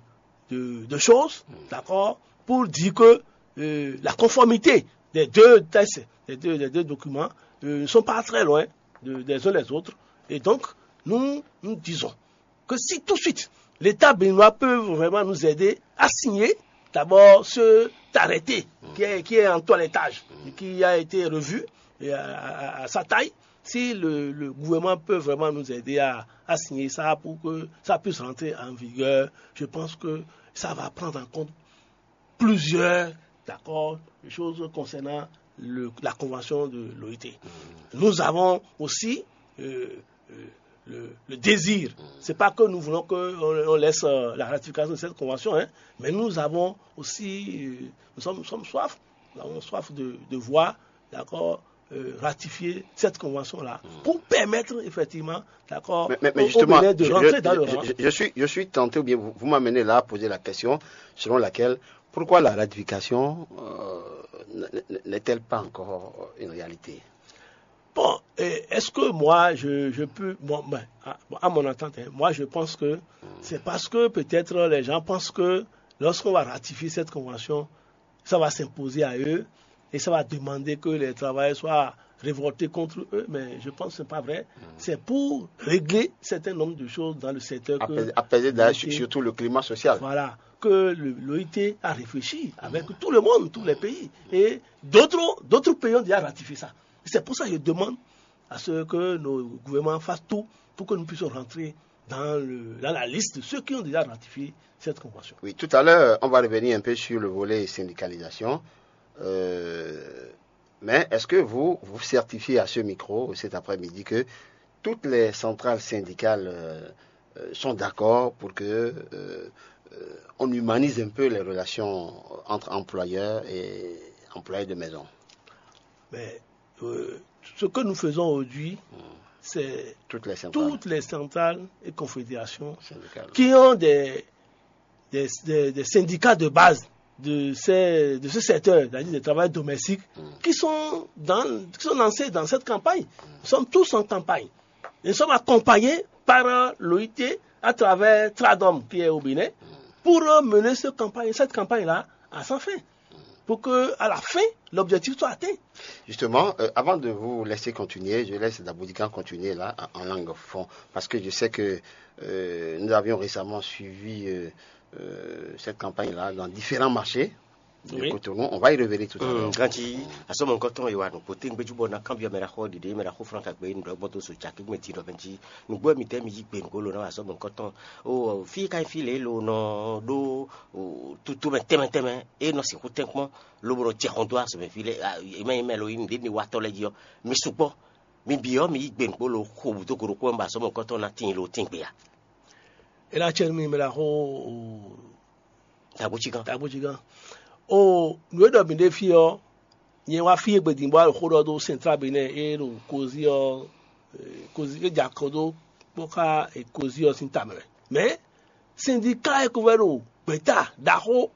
de, de choses, d'accord, pour dire que euh, la conformité des deux textes, des deux, des deux documents, euh, ne sont pas très loin de- des uns les autres. Et donc, nous, nous disons que si tout de suite, l'État béninois peut vraiment nous aider à signer d'abord cet arrêté qui est, qui est en toilettage, qui a été revu et à, à- à sa taille, si le, le gouvernement peut vraiment nous aider à, à signer ça pour que ça puisse rentrer en vigueur, je pense que ça va prendre en compte plusieurs, d'accord, choses concernant le- la convention de l'OIT. Nous avons aussi euh, euh, le, le désir. C'est pas que nous voulons qu'on on laisse euh, la ratification de cette convention, hein, mais nous avons aussi, euh, nous sommes, nous sommes soif, nous avons soif de, de voir, d'accord, euh, ratifier cette convention-là pour permettre effectivement, d'accord, Mais, mais- mais au- au justement, Bénin de je, rentrer je- dans le je- rang. je- je suis, je suis tenté, ou bien vous, vous m'amenez là à poser la question selon laquelle, pourquoi la ratification euh, n- n- n'est-elle pas encore une réalité? Bon, et est-ce que moi, je, je peux, moi, ben, à, à mon entente, hein, moi, je pense que c'est parce que peut-être les gens pensent que lorsqu'on va ratifier cette convention, ça va s'imposer à eux et ça va demander que les travailleurs soient révoltés contre eux. Mais je pense que ce n'est pas vrai. C'est pour régler certains nombres de choses dans le secteur que Apaiser, apaiser d'ailleurs l'OIT, sur- surtout le climat social. Voilà, que le- l'OIT a réfléchi avec tout le monde, tous les pays. Et d'autres d'autres pays ont déjà ratifié ça. C'est pour ça que je demande à ce que nos gouvernements fassent tout pour que nous puissions rentrer dans, le- dans la liste de ceux qui ont déjà ratifié cette convention. Oui, tout à l'heure, on va revenir un peu sur le volet syndicalisation. Euh, mais est-ce que vous vous certifiez à ce micro cet après-midi que toutes les centrales syndicales euh, euh, sont d'accord pour que euh, euh, on humanise un peu les relations entre employeurs et employés de maison? Mais euh, ce que nous faisons aujourd'hui, c'est Toutes les centrales toutes les centrales et confédérations syndicales. Qui ont des, des, des- des syndicats de base de, ces- de ce secteur, c'est-à-dire des travailleurs domestiques, qui, sont dans, qui sont lancés dans cette campagne. Nous sommes tous en campagne. Nous sommes accompagnés par euh, l'OIT à travers Tradom qui est au Bénin pour euh, mener ce campagne, cette campagne-là à sa fin. Pour que, à la fin, l'objectif soit atteint. Justement, euh, avant de vous laisser continuer, je laisse Daboudikan continuer là, en, en langue fond, parce que je sais que euh, nous avions récemment suivi euh, euh, cette campagne-là dans différents marchés de Oui. Cotonou. On va y revenir tout à l'heure. Ganti asɔmɔ nukɔntɔn yi wa nukpo te ŋgbɛju bɔ na kanbiɔ mɛ la xɔ ɖiɖe mɛ la xɔ fran kagbe nu ɖɔ gbɔn to so caki gbɛn ti ɖɔ bɛn ti nugbo mi tɛ mi yi gbe nugbo lo na asɔmɔ nukɔntɔn o fi ka fi le lo nɔ ɖo o tutu mɛ tɛmɛ tɛmɛ e nɔ sixu tɛnkpɔn lobo nɔ jɛ xɔn do asɔmɛ fi le e mɛ yi mɛ lo yi nu ɖe ni wa tɔ lɛ ji ɔ mi sugbɔ mi bi ɔ mi yi gbe nugbo lo xo budo goro kpɔ ba asɔmɔ nukɔntɔn na tin lo tin gbe ya. E la cɛ nu mi mɛ la xɔ o Tabucigan. Tabucigan. O nu e ɖɔ mi ɖe fi ɔ, nyɛ wá fi e gbedin bɔ alɔ xó ɖɔ ɖo Central Benin e ɖo kozi ɔ, eh, kozi e dza kɔ ɖo kpɔ́ xá eh, kozi ɔ sín tamɛ. Mɛ sindika e ko vɛ ɖo gbɛta ɖaxó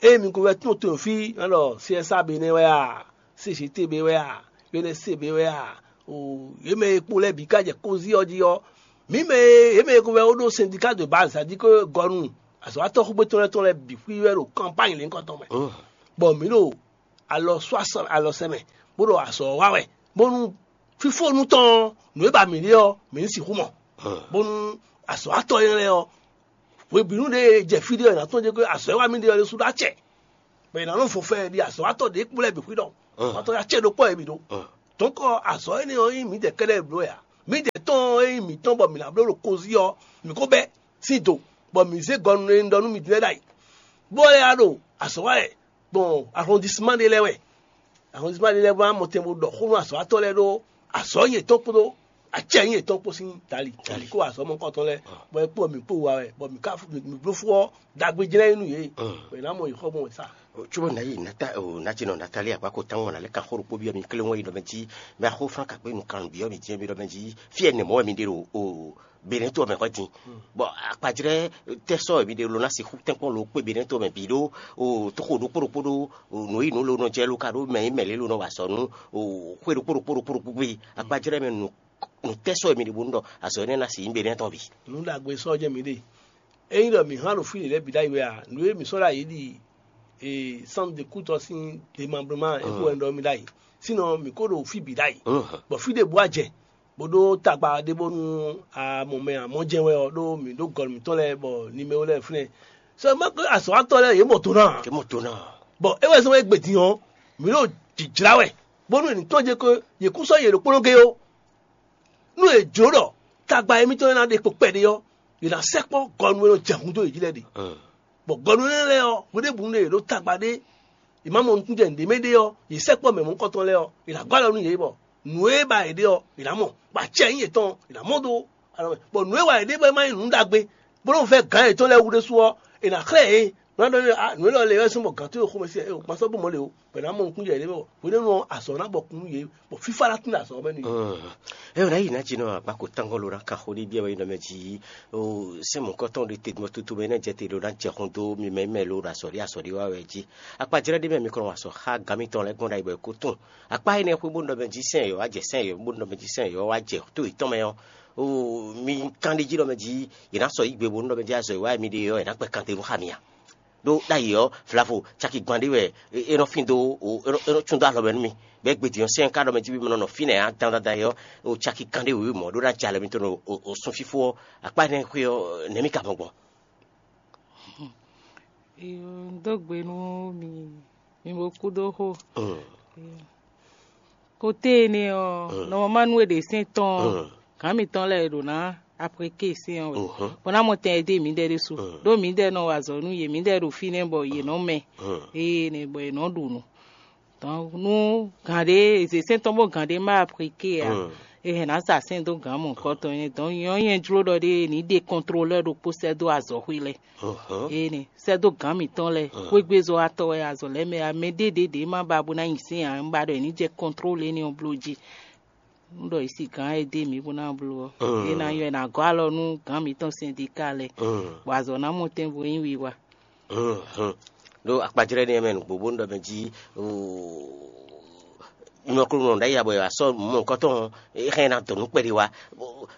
e mi ko vɛ tún to fi alɔ C S A Benin wɛ a, C G T B wɛ a, U N S C B wɛ a, o ye mɛ e kpo lɛ bi ka jɛ kozi ɔ ji ɔ, mi mɛ e ye mɛ e ko vɛ wo ɖo sindika de base, c'est-à-dire que gɔnu azɔ̌watɔ́ xúgbé tɔn lɛ́ɛ tɔn lɛ́ɛ bǐ xwí wɛ ɖo kanpány lěhunkɔtɔn mɛ. Bɔ mǐ ɖo alɔ sɔ asɔ alɔ sɛ mɛ, bó ɖo azɔ̌ wa wɛ, bónú fífónu tɔn ɔ́, nǔ e ba mǐ ɖe ɔ́, mǐ ní sixú mɔ. Bónú azɔ̌watɔ́ énɛ́ lɛ́ɛ ɔ́, hwebǐnu ɖé e jɛ fí ɖé ɔ́, è nǎ tɔ́n jɛ kɔ́ azɔ̌ e wá mì ɖe ɔ́ ɖésú ɖó acɛ, bɔ è nǎ nɔ fɔnfɛn ɖi azɔ̌watɔ́ ɖě kpó lɛ́ɛ bǐ xwí ɖɔ azɔ̌watɔ́ ya cɛ ɖokpó wɛ mǐ ɖó. Dɔ̌nkɔ azɔ̌ énɛ́ ɔ́ nyí mǐdɛɛ kɛ́ɖɛ́ bló wɛ ǎ. Mǐdɛɛ tɔn e nyí mǐtɔn bɔ mǐ ná bló ɖo kozí ɔ́, mǐ ko bɛ́ sín do, bɔ mǐ zé gɔnu e un ɖɔ nú mi din lɛ́ɛ ɖ'ayǐ, bó lɛ́ wá ɖo azɔ̌ wa wɛ gbɔn ahɔndisima ɖé lɛ́ɛ wɛ. Ahɔndisima ɖé lɛ́ɛ wá mɔtɛn bó ɖɔ xó nú azɔ̌watɔ́ lɛ́ɛ ɖó azɔ̌ yětɔn kpódó acɛ yětɔn kpó sín tali. Tali. Mǐ kó azɔ̌ mɔkɔtɔn lɛ́ɛ, bɔ é kpó mǐ kpó wa wɛ, bɔ mǐ ka mǐ bló fú ɔ́, ɖagbe jlɛ́ nyí nú yě. Bɔ è nǎ mɔ yě xɔ gbɔn wɛ sá. Cóbɔ nǎ yi nǎta o nǎjínɔ Natália gbá ko tán wɔn nǎ lɛ́ kan xó ɖokpó byɔ́ mi kléwɔn yi ɖɔ mɛ jí mɛ axó flán kakpé nukannú byɔ́ mi jí mɛ ɖɔ mɛ jí fí ɛnɛ mɔ̌ wɛ mi ɖe ɖo o Benɛ́to ɔ́ mɛ hwɛ́ din. Bɔ akpajlɛ́ tɛ́ sɔ́ wɛ mi ɖe lo ná sixú tɛ́nkpɔ́n lo kpé Benɛ́to mɛ bǐ ɖó o tóxo ɖokpó ɖokpó ɖó o nǔ yi nǔ lo nɔ jɛ lo ka ɖó mɛ yi mɛ lě lo nɔ wa azɔ̌ nú o xwé ɖokpó ɖokpó ɖokpó ɖokpó gbé akpajlɛ́ mɛ nǔ nǔ tɛ́ sɔ́ wɛ mi ɖe bónú ɖɔ azɔ̌ énɛ́ ná sixú nyí Benɛ́ tɔn bǐ. Nǔ ɖagbe sɔ́ jɛ mǐ ɖe. Ényí ɖɔ mǐ hán ɖo fí lě lɛ́ɛ bǐ ɖ'ayǐ wɛ a, nǔ e mǐ sɔ́ ɖ'ayǐ ɖi e sánnu de kútɔ sín demabloman é kó wɛ un ɖɔ mì ɖ'ayǐ. Sínɔ mǐ ko ɖo fí bǐ ɖ'ayǐ, bɔ fí ɖěbǔ a jɛ bó ɖó tagba ɖé bónú a mɔ mɛ a mɔ jɛ wɛ ɔ́ ɖó mǐ ɖó gɔ̌n mǐtɔn lɛ́ɛ bɔ nimewo lɛ́ɛ fínɛ́. Sɔ ma kpé azɔ̌watɔ́ lɛ́ɛ yě mɔ do ná a? Yě mɔ do ná. Bɔ é wɛ zɔ́n wɛ gbedin ɔ́, mǐ ɖo jǐjlá wɛ bónú è nǐ tɔ́n jɛ kó yě kú sɔ́ yě ɖokpónɔ géé ó. Nú è jlǒ ɖɔ tagba émítɔn e ná ɖe kpo kpɛɖé ɔ́, è nǎ sɛkpɔ́ gɔnu e nɔ jɛ hun dó yě jí lɛ́ɛ ɖe. Bɔ gɔnu énɛ́ lɛ́ɛ ɔ́, hweɖěbǔnu ɖé yě ɖó tagba ɖé, è má mɔ nukúnjɛ nǔɖé mɛ ɖé ɔ́, yě sɛkpɔ́ mɛ mɔ̌hunkɔtɔn lɛ́ɛ ɔ́, è nǎ gɔ́ alɔ nú yě bɔ nǔ e ba yě ɖe ɔ́, è nǎ mɔ, bɔ acɛ nyí yětɔn, è nǎ mɔ dó alɔ mɛ. Bɔ nǔ e wa yě ɖe bɔ é má nyí nǔ ɖagbe, bó nɔ́ vɛ́ gǎn yětɔn lɛ́ɛ wú ɖésú ɔ́, è nǎ xlɛ́ yě. Nǔ ná ɖɔ nú yě, "Ah, nǔ élɔ́ lɛ́ɛ wɛ sín bɔ gǎn towe xomɛ sí ɛ, ma sɔ́ bó mɔ lě ó." Bɔ è nǎ mɔ nukúnjɛ yě ɖé mɛ bɔ hwenɛ́nu ɔ́, azɔ̌ ná bɔ kún nú yě, bɔ fífá ná tín ɖo azɔ̌ ɔ́ mɛ nú yě. É wɛ ná yi ná jí nɔ agbáko tángɔ́ ló ná kan xó ɖé byɔ́ wɛ nɔ mɛ jí ó sɛ́n mɔ̌kɔtɔn ɖé te mɔ tutu mɛ nɛ́ jɛ te ɖó ná jɛ xɔn dó mi mɛ mɛ ló ɖo azɔ̌ ɖé azɔ̌ ɖé wá wɛ jí. Akpajlɛ́ ɖé mɛ mi kɔn nɔ wa sɔ xá gǎn mitɔn lɛ́ɛ gbɔn ɖ'ayǐ bɔ é kó tún. Akpá énɛ́ xwé bó nɔ mɛ jí sɛ́n yɔ̌ wá jɛ sɛ́n yɔ̌ bó nɔ mɛ jí sɛ́n yɔ̌ wá jɛ tó yětɔn mɛ ɔ́, ó mi kán ɖé jí nɔ mɛ jí yě ná sɔ yí gbe bó nɔ mɛ jí azɔ̌ e wá mi ɖe ɔ́, è nǎ kpɛ kan te nú xá mi a? Ɖó ɖ'ayǐ ɔ́, vlavo caki gban ɖé wɛ é nɔ fín dó, é nɔ cún dó alɔ mɛ nú mi. Bɔ é gbe din ɔ́, sɛ́n ka ɖɔ mɛ jí mɛ nɔ nɔ fínɛ́ ǎ dandan dandan é ɔ́, o caki kanɖé wěwé mɔ̌ ɖó ná jɛ alɔ mitɔn ɖo o sunfífó ɔ́, akpá énɛ́ xwé ɔ́, nɛ̌ mì ka mɔ gbɔn? Iyo, un dó gbe nú mi, mi bo kúdó xó. Iyo. Kote énɛ́ ɔ́, nɔmɔmá nú è ɖe sɛ́n tɔn ɔ́, gǎn mitɔn lɛ́ɛ è ɖǒ ná apréké sɛ́n ɔ́ wɛ, bɔ ná mɔ tɛn e dó mǐdɛɛ ɖésú. Ɖó mǐdɛɛ nɔ wa azɔ̌ nú yě, mǐdɛɛ ɖo fínɛ́ bɔ yě nɔ mɛ, ée nɛ bɔ yě nɔ ɖu nǔ. Dɔnku nú gǎn ɖé, è zě sɛ́n tɔn bó gǎn ɖé má apréké ǎ, è hɛn ná sa sɛ́n dó gǎn mɔ̌hunkɔtɔn énɛ́. Dɔnku nyɛ ɔ́, nyɛ jló ɖɔ ɖé ní ɖe kɔntlolɛ́ ɖokpó sɛ́ dó azɔ̌xwé lɛ́ɛ. Énɛ́ sɛ́ dó gǎn mǐtɔn lɛ́ɛ, xwégbezɔ́watɔ́ wɛ azɔ̌ lɛ́ɛ mɛ ǎ. Mɛ ɖé ɖě ɖě má ba bó ná nyi sɛ́n ǎ, un ba ɖɔ è ní jɛ kɔntlóle énɛ́ ɔ́ bló jí. Un ɖɔ è si gǎn e dó mǐ bó ná bló ɔ́, é ná nyɔ́ è nǎ gɔ́ alɔ nú gǎn mǐtɔn sɛndika lɛ́ɛ, bɔ azɔ̌ ná mɔ tɛn bo nyí wiwa. Ɖó akpajlɛ́ nɛ́ mɛ nǔgbó bónú ɖɔ mɛ jí nyɔ̌kúnɔ ɖ'ayǐ abɔ è wǎ sɔ́ mɔ̌hunkɔtɔn ɔ́, é hɛn ná dɔn nǔ kpɛɖé wá.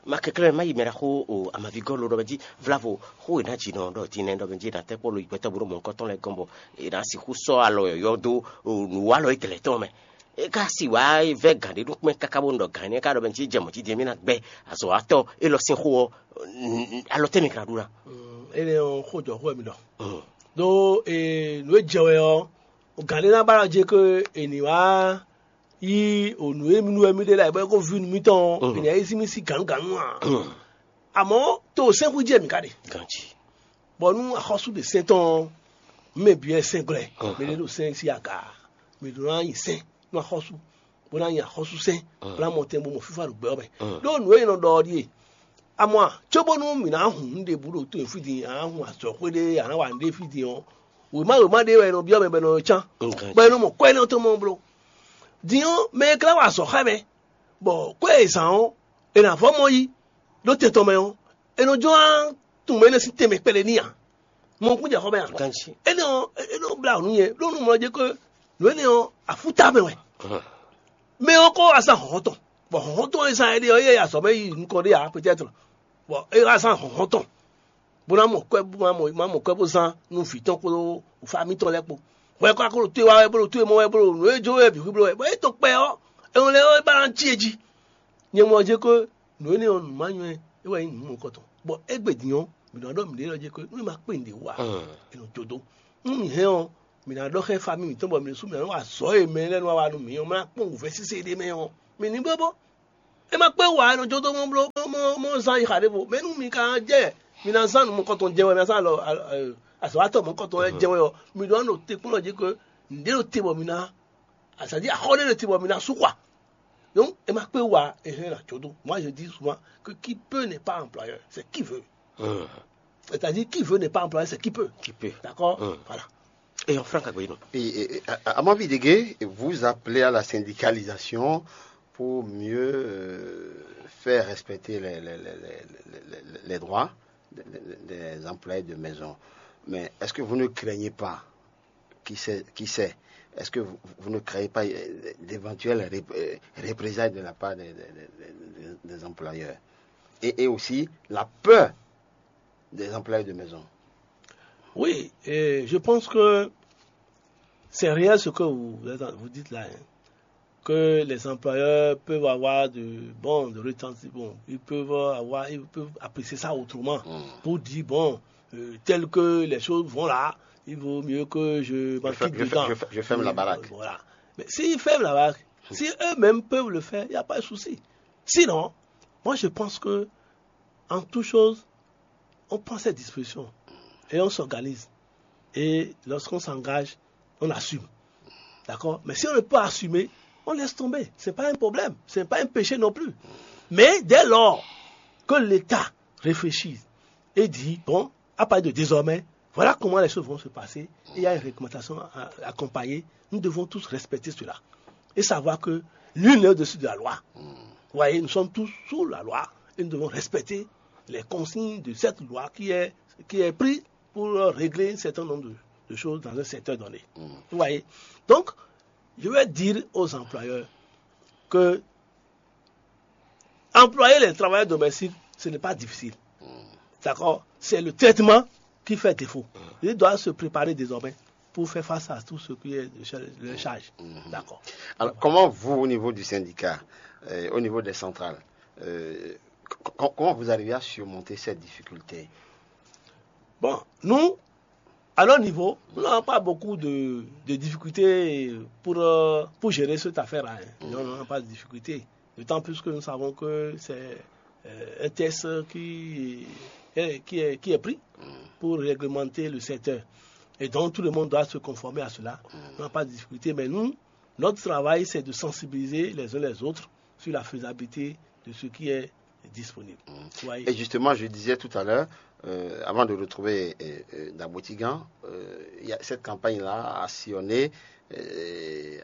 Ma kɛnklɛ́n má yi mɛ ɖaxó amavigɔ́ lo ɖɔ mɛ jí vlavo xó e ná jǐ nɔ ɖɔ din nɛ́ ɖɔ mɛ jí è nǎ tɛ́ kpɔ́ lo yi gbɛtɔ́ bó ɖo mɔ̌hunkɔtɔn lɛ́ɛ gɔ́n bɔ è nǎ sixú sɔ́ alɔ yɔ̌yɔ́ dó nǔwalɔ étɛlɛ tɔn mɛ. É ka si wǎ vɛ́ gǎn ɖé nú kpɛ́n káká bónú ɖɔ gǎn énɛ́ ka ɖɔ mɛ jí jɛ mɔ̌ jí din mì ná gbɛ́ azɔ̌watɔ́ élɔ́ sín xó ɔ́, alɔ tɛ́ mɛ ka ná ɖu ná? Énɛ́ ɔ́, xó jɔ xó wɛ mi ɖɔ. Ɖó nǔ e jɛ wɛ ɔ́, gǎn ɖé ná ba ɖɔ jí ko è nǐ wá yí nǔ e nú wɛ mì ɖe lɛ́ɛ bɔ é ko ví nú mítɔn ɔ́, è nǐ yí sí mì sí gǎnugǎnu ǎ. Amɔ̌ to sɛ́nxú jɛ mǐ ka ɖe. Ganjí. Bɔ nú axɔ́sú ɖe sɛ́n tɔn ɔ́, mɛ bǐ wɛ sɛ́n glɔ́ ɛ. Mɛ ɖé ɖo sɛ́n sín aga, mɛ ɖě nɔ nyi sɛ́n nú axɔ́sú, bó ná nyi axɔ́súsɛ́n, bó ná mɔ tɛn bó mɔ fífá ɖo gbɛ ɔ́ mɛ. Ɖó nǔ e è nɔ ɖɔ ɔ́ ɖíe: Amɔ a, cóbónú mǐ ná hun nǔ ɖěbǔ ɖo to e fí din, a nǎ hun azɔ̌xwé ɖé, a nǎ wa nǔɖé fí din ɔ́, wěma wěma ɖé wɛ è nɔ byɔ́ mɛ bɔ è nɔ cán, bɔ è nɔ mɔ kwɛ́ énɛ́ tɔn mɔ bló. Din ɔ́, mɛ e ka ná wa azɔ̌ xá mɛ, bɔ kwɛ́ e è zǎn ɔ́, è nǎ vɔ́ mɔ yí ɖó tɛn tɔn mɛ ɔ́, è nɔ jló ná tunwun mɛ énɛ́ sín tɛnmɛ kpɛɖé n'i ǎ. Mɔ kún jɛ xɔ mɛ a? Ganjí. Énɛ́ ɔ́, é nɔ blá nǔ nyɛ, ɖó nú mɔ jɛ ko nǔ énɛ́ ɔ́, afúta mɛ wɛ. Mɛ ɔ́ kó wá zán hlɔ̌nhlɔ́n tɔn, bɔ hlɔ̌nhlɔ́n tɔn e zán éɖée ɔ́, é yɛ azɔ̌ mɛ yi nukɔn ɖé ǎ, peut-être, bɔ é wá zán hlɔ̌nhlɔ́n tɔn, bó ná mɔ kwɛ́, bó ná mɔ, má mɔ kwɛ́ bó zán nú vǐ tɔn kpódó fá mítɔn lɛ́ɛ kpó. Hwɛ kó wá kó ɖo tó e wá wɛ, bó ɖo tó e mɔ wɛ, bó ɖo nǔ e jó wɛ bǐ xwí bló wɛ, bɔ é tɔn kpɛ ɔ́, é nɔ lɛ́ ɔ́, é ba ná cí e jí. Nyɛ mɔ ɔ́ jɛ ko nǔ énɛ́ ɔ́ nǔ ma nywɛ́ é wɛ nyí nǔ mɔ̌kɔtɔn. Bɔ égbé din ɔ́, mǐ nɔ ɖɔ mǐɖée lɔ jɛ ko nú è ma kpé nǔɖé wa, è nɔ jó dó. Nú mǐ hɛn ɔ́, mǐ ná ɖɔ xá famí mǐtɔn bɔ mǐ ɖésú mǐ ná nɔ wa azɔ̌ e mɛ lɛ́ɛ nɔ wa nú mǐ ɔ́, mǐ ná kpɔ́n wǔvɛ́ sésé ɖé mɛ ɔ́, mǐ ní bló bó. É ma kpé wa è nɔ jó dó mɔ bló mɔ mɔ zán yi xa ɖěvo. Mɛ nú mi ka jɛ mi ná zán nǔ mɔ̌kɔtɔn jɛ wɛ, mi ná zán alɔ azɔ̌watɔ́ mɔ̌kɔtɔn lɛ́ɛ jɛ wɛ ɔ́, mi ɖó ná ɖo te kplɔ́n jí ko nǔɖé ɖo te bɔ mi ná, c'est-à-dire axɔ ɖé ɖo te bɔ mi ná sú xwa. Donc é ma kpé wa è hɛn ná jó dó. Moi je dis souvent que qui peut n'est pas employeur, c'est qui veut. C'est-à-dire qui veut n'est pas employeur, c'est qui peut. Qui peut. D'accord. Voilà. Et en franc, Agbeino. Et, et, et, à, à mon avis, Dégué, vous appelez à la syndicalisation pour mieux euh, faire respecter les, les, les, les, les- les droits des, des- des employés de maison. Mais est-ce que vous ne craignez pas, qui sait, qui sait, est-ce que vous, vous ne craignez pas euh, d'éventuelles ré- euh, représailles de la part des, des- des- des- des employeurs et, et aussi la peur des employés de maison? Oui, et je pense que c'est réel ce que vous, vous dites là, hein, que les employeurs peuvent avoir de, bon, de retentis, bon, ils peuvent avoir, ils peuvent apprécier ça autrement, pour dire, bon, euh, tel que les choses vont là, il vaut mieux que je Je, m'en fer- quitte je fer- dedans. je fer- je ferme la Oui, baraque. Voilà. Mais s'ils ferment la baraque, si eux-mêmes peuvent le faire, il n'y a pas de souci. Sinon, moi je pense que, en toute chose, on prend cette disposition et on s'organise. Et lorsqu'on s'engage, on assume. D'accord. Mais si on ne peut pas assumer, on laisse tomber. Ce n'est pas un problème. Ce n'est pas un péché non plus. Mais dès lors que l'État réfléchit et dit, bon, à partir de désormais, voilà comment les choses vont se passer. Il y a une réglementation à accompagner. Nous devons tous respecter cela et savoir que nul n'est au-dessus de la loi. Vous voyez, nous sommes tous sous la loi et nous devons respecter les consignes de cette loi qui est, qui est prise pour régler un certain nombre de, de choses dans un secteur donné. Vous voyez. Donc, je vais dire aux employeurs que employer les travailleurs domestiques, ce n'est pas difficile. D'accord. C'est le traitement qui fait défaut. Ils doivent se préparer désormais pour faire face à tout ce qui est de cha- de charge. D'accord. Alors, comment vous, au niveau du syndicat, euh, au niveau des centrales, euh, c- c- comment vous arrivez à surmonter cette difficulté? Bon, nous, à notre niveau, nous n'avons pas beaucoup de, de difficultés pour, euh, pour gérer cette affaire-là, hein. Nous n'avons pas de difficultés. D'autant plus que nous savons que c'est euh, un test qui est, qui est, qui est pris pour réglementer le secteur. Et donc, tout le monde doit se conformer à cela. On n'a pas de difficulté, mais nous, notre travail, c'est de sensibiliser les uns les autres sur la faisabilité de ce qui est disponible. Vous voyez. Et justement, je disais tout à l'heure, euh, avant de retrouver euh, euh, Dabotigan, euh, il y a- cette campagne-là a sillonné euh,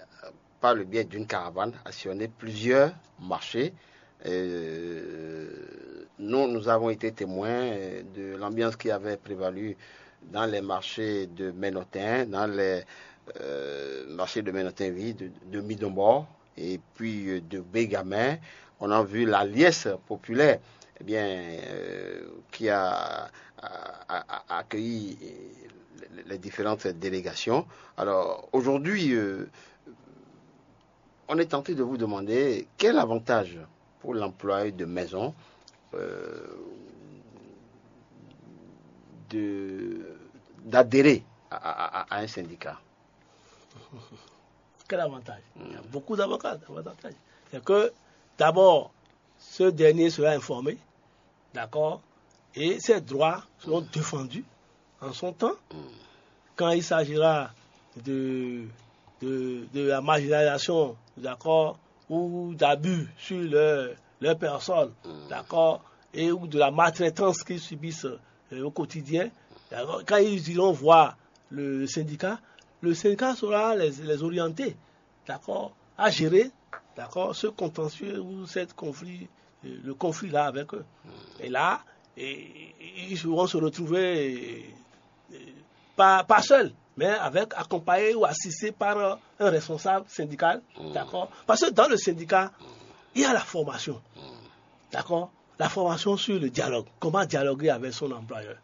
par le biais d'une caravane, a sillonné plusieurs marchés. Euh, nous, nous avons été témoins euh, de l'ambiance qui avait prévalu dans les marchés de Ménotin, dans les euh, marchés de Ménotin, oui, de, de Midombo et puis euh, de Bégamin. On a vu la liesse populaire eh bien, euh, qui a, a- a- a- accueilli euh, les- les différentes délégations. Alors aujourd'hui, euh, on est tenté de vous demander quel avantage pour l'employé de maison euh, de d'adhérer à, à- à- à un syndicat. Quel avantage? Il y a beaucoup d'avantages. D'avantages. C'est que, d'abord, ce dernier sera informé, d'accord, et ses droits seront défendus en son temps. Quand il s'agira de, de, de la marginalisation, d'accord, ou d'abus sur leur, leur personne, d'accord, et ou de la maltraitance qu'ils subissent euh, au quotidien, d'accord, quand ils iront voir le syndicat, le syndicat saura les, les orienter, d'accord, à gérer, d'accord, ce contentieux ou cette conflit, euh, le conflit là avec eux. Et là, et- et ils vont se retrouver euh, pas, pas seuls, mais avec accompagnés ou assistés par un responsable syndical, d'accord. Parce que dans le syndicat, il y a la formation, d'accord. La formation sur le dialogue, comment dialoguer avec son employeur,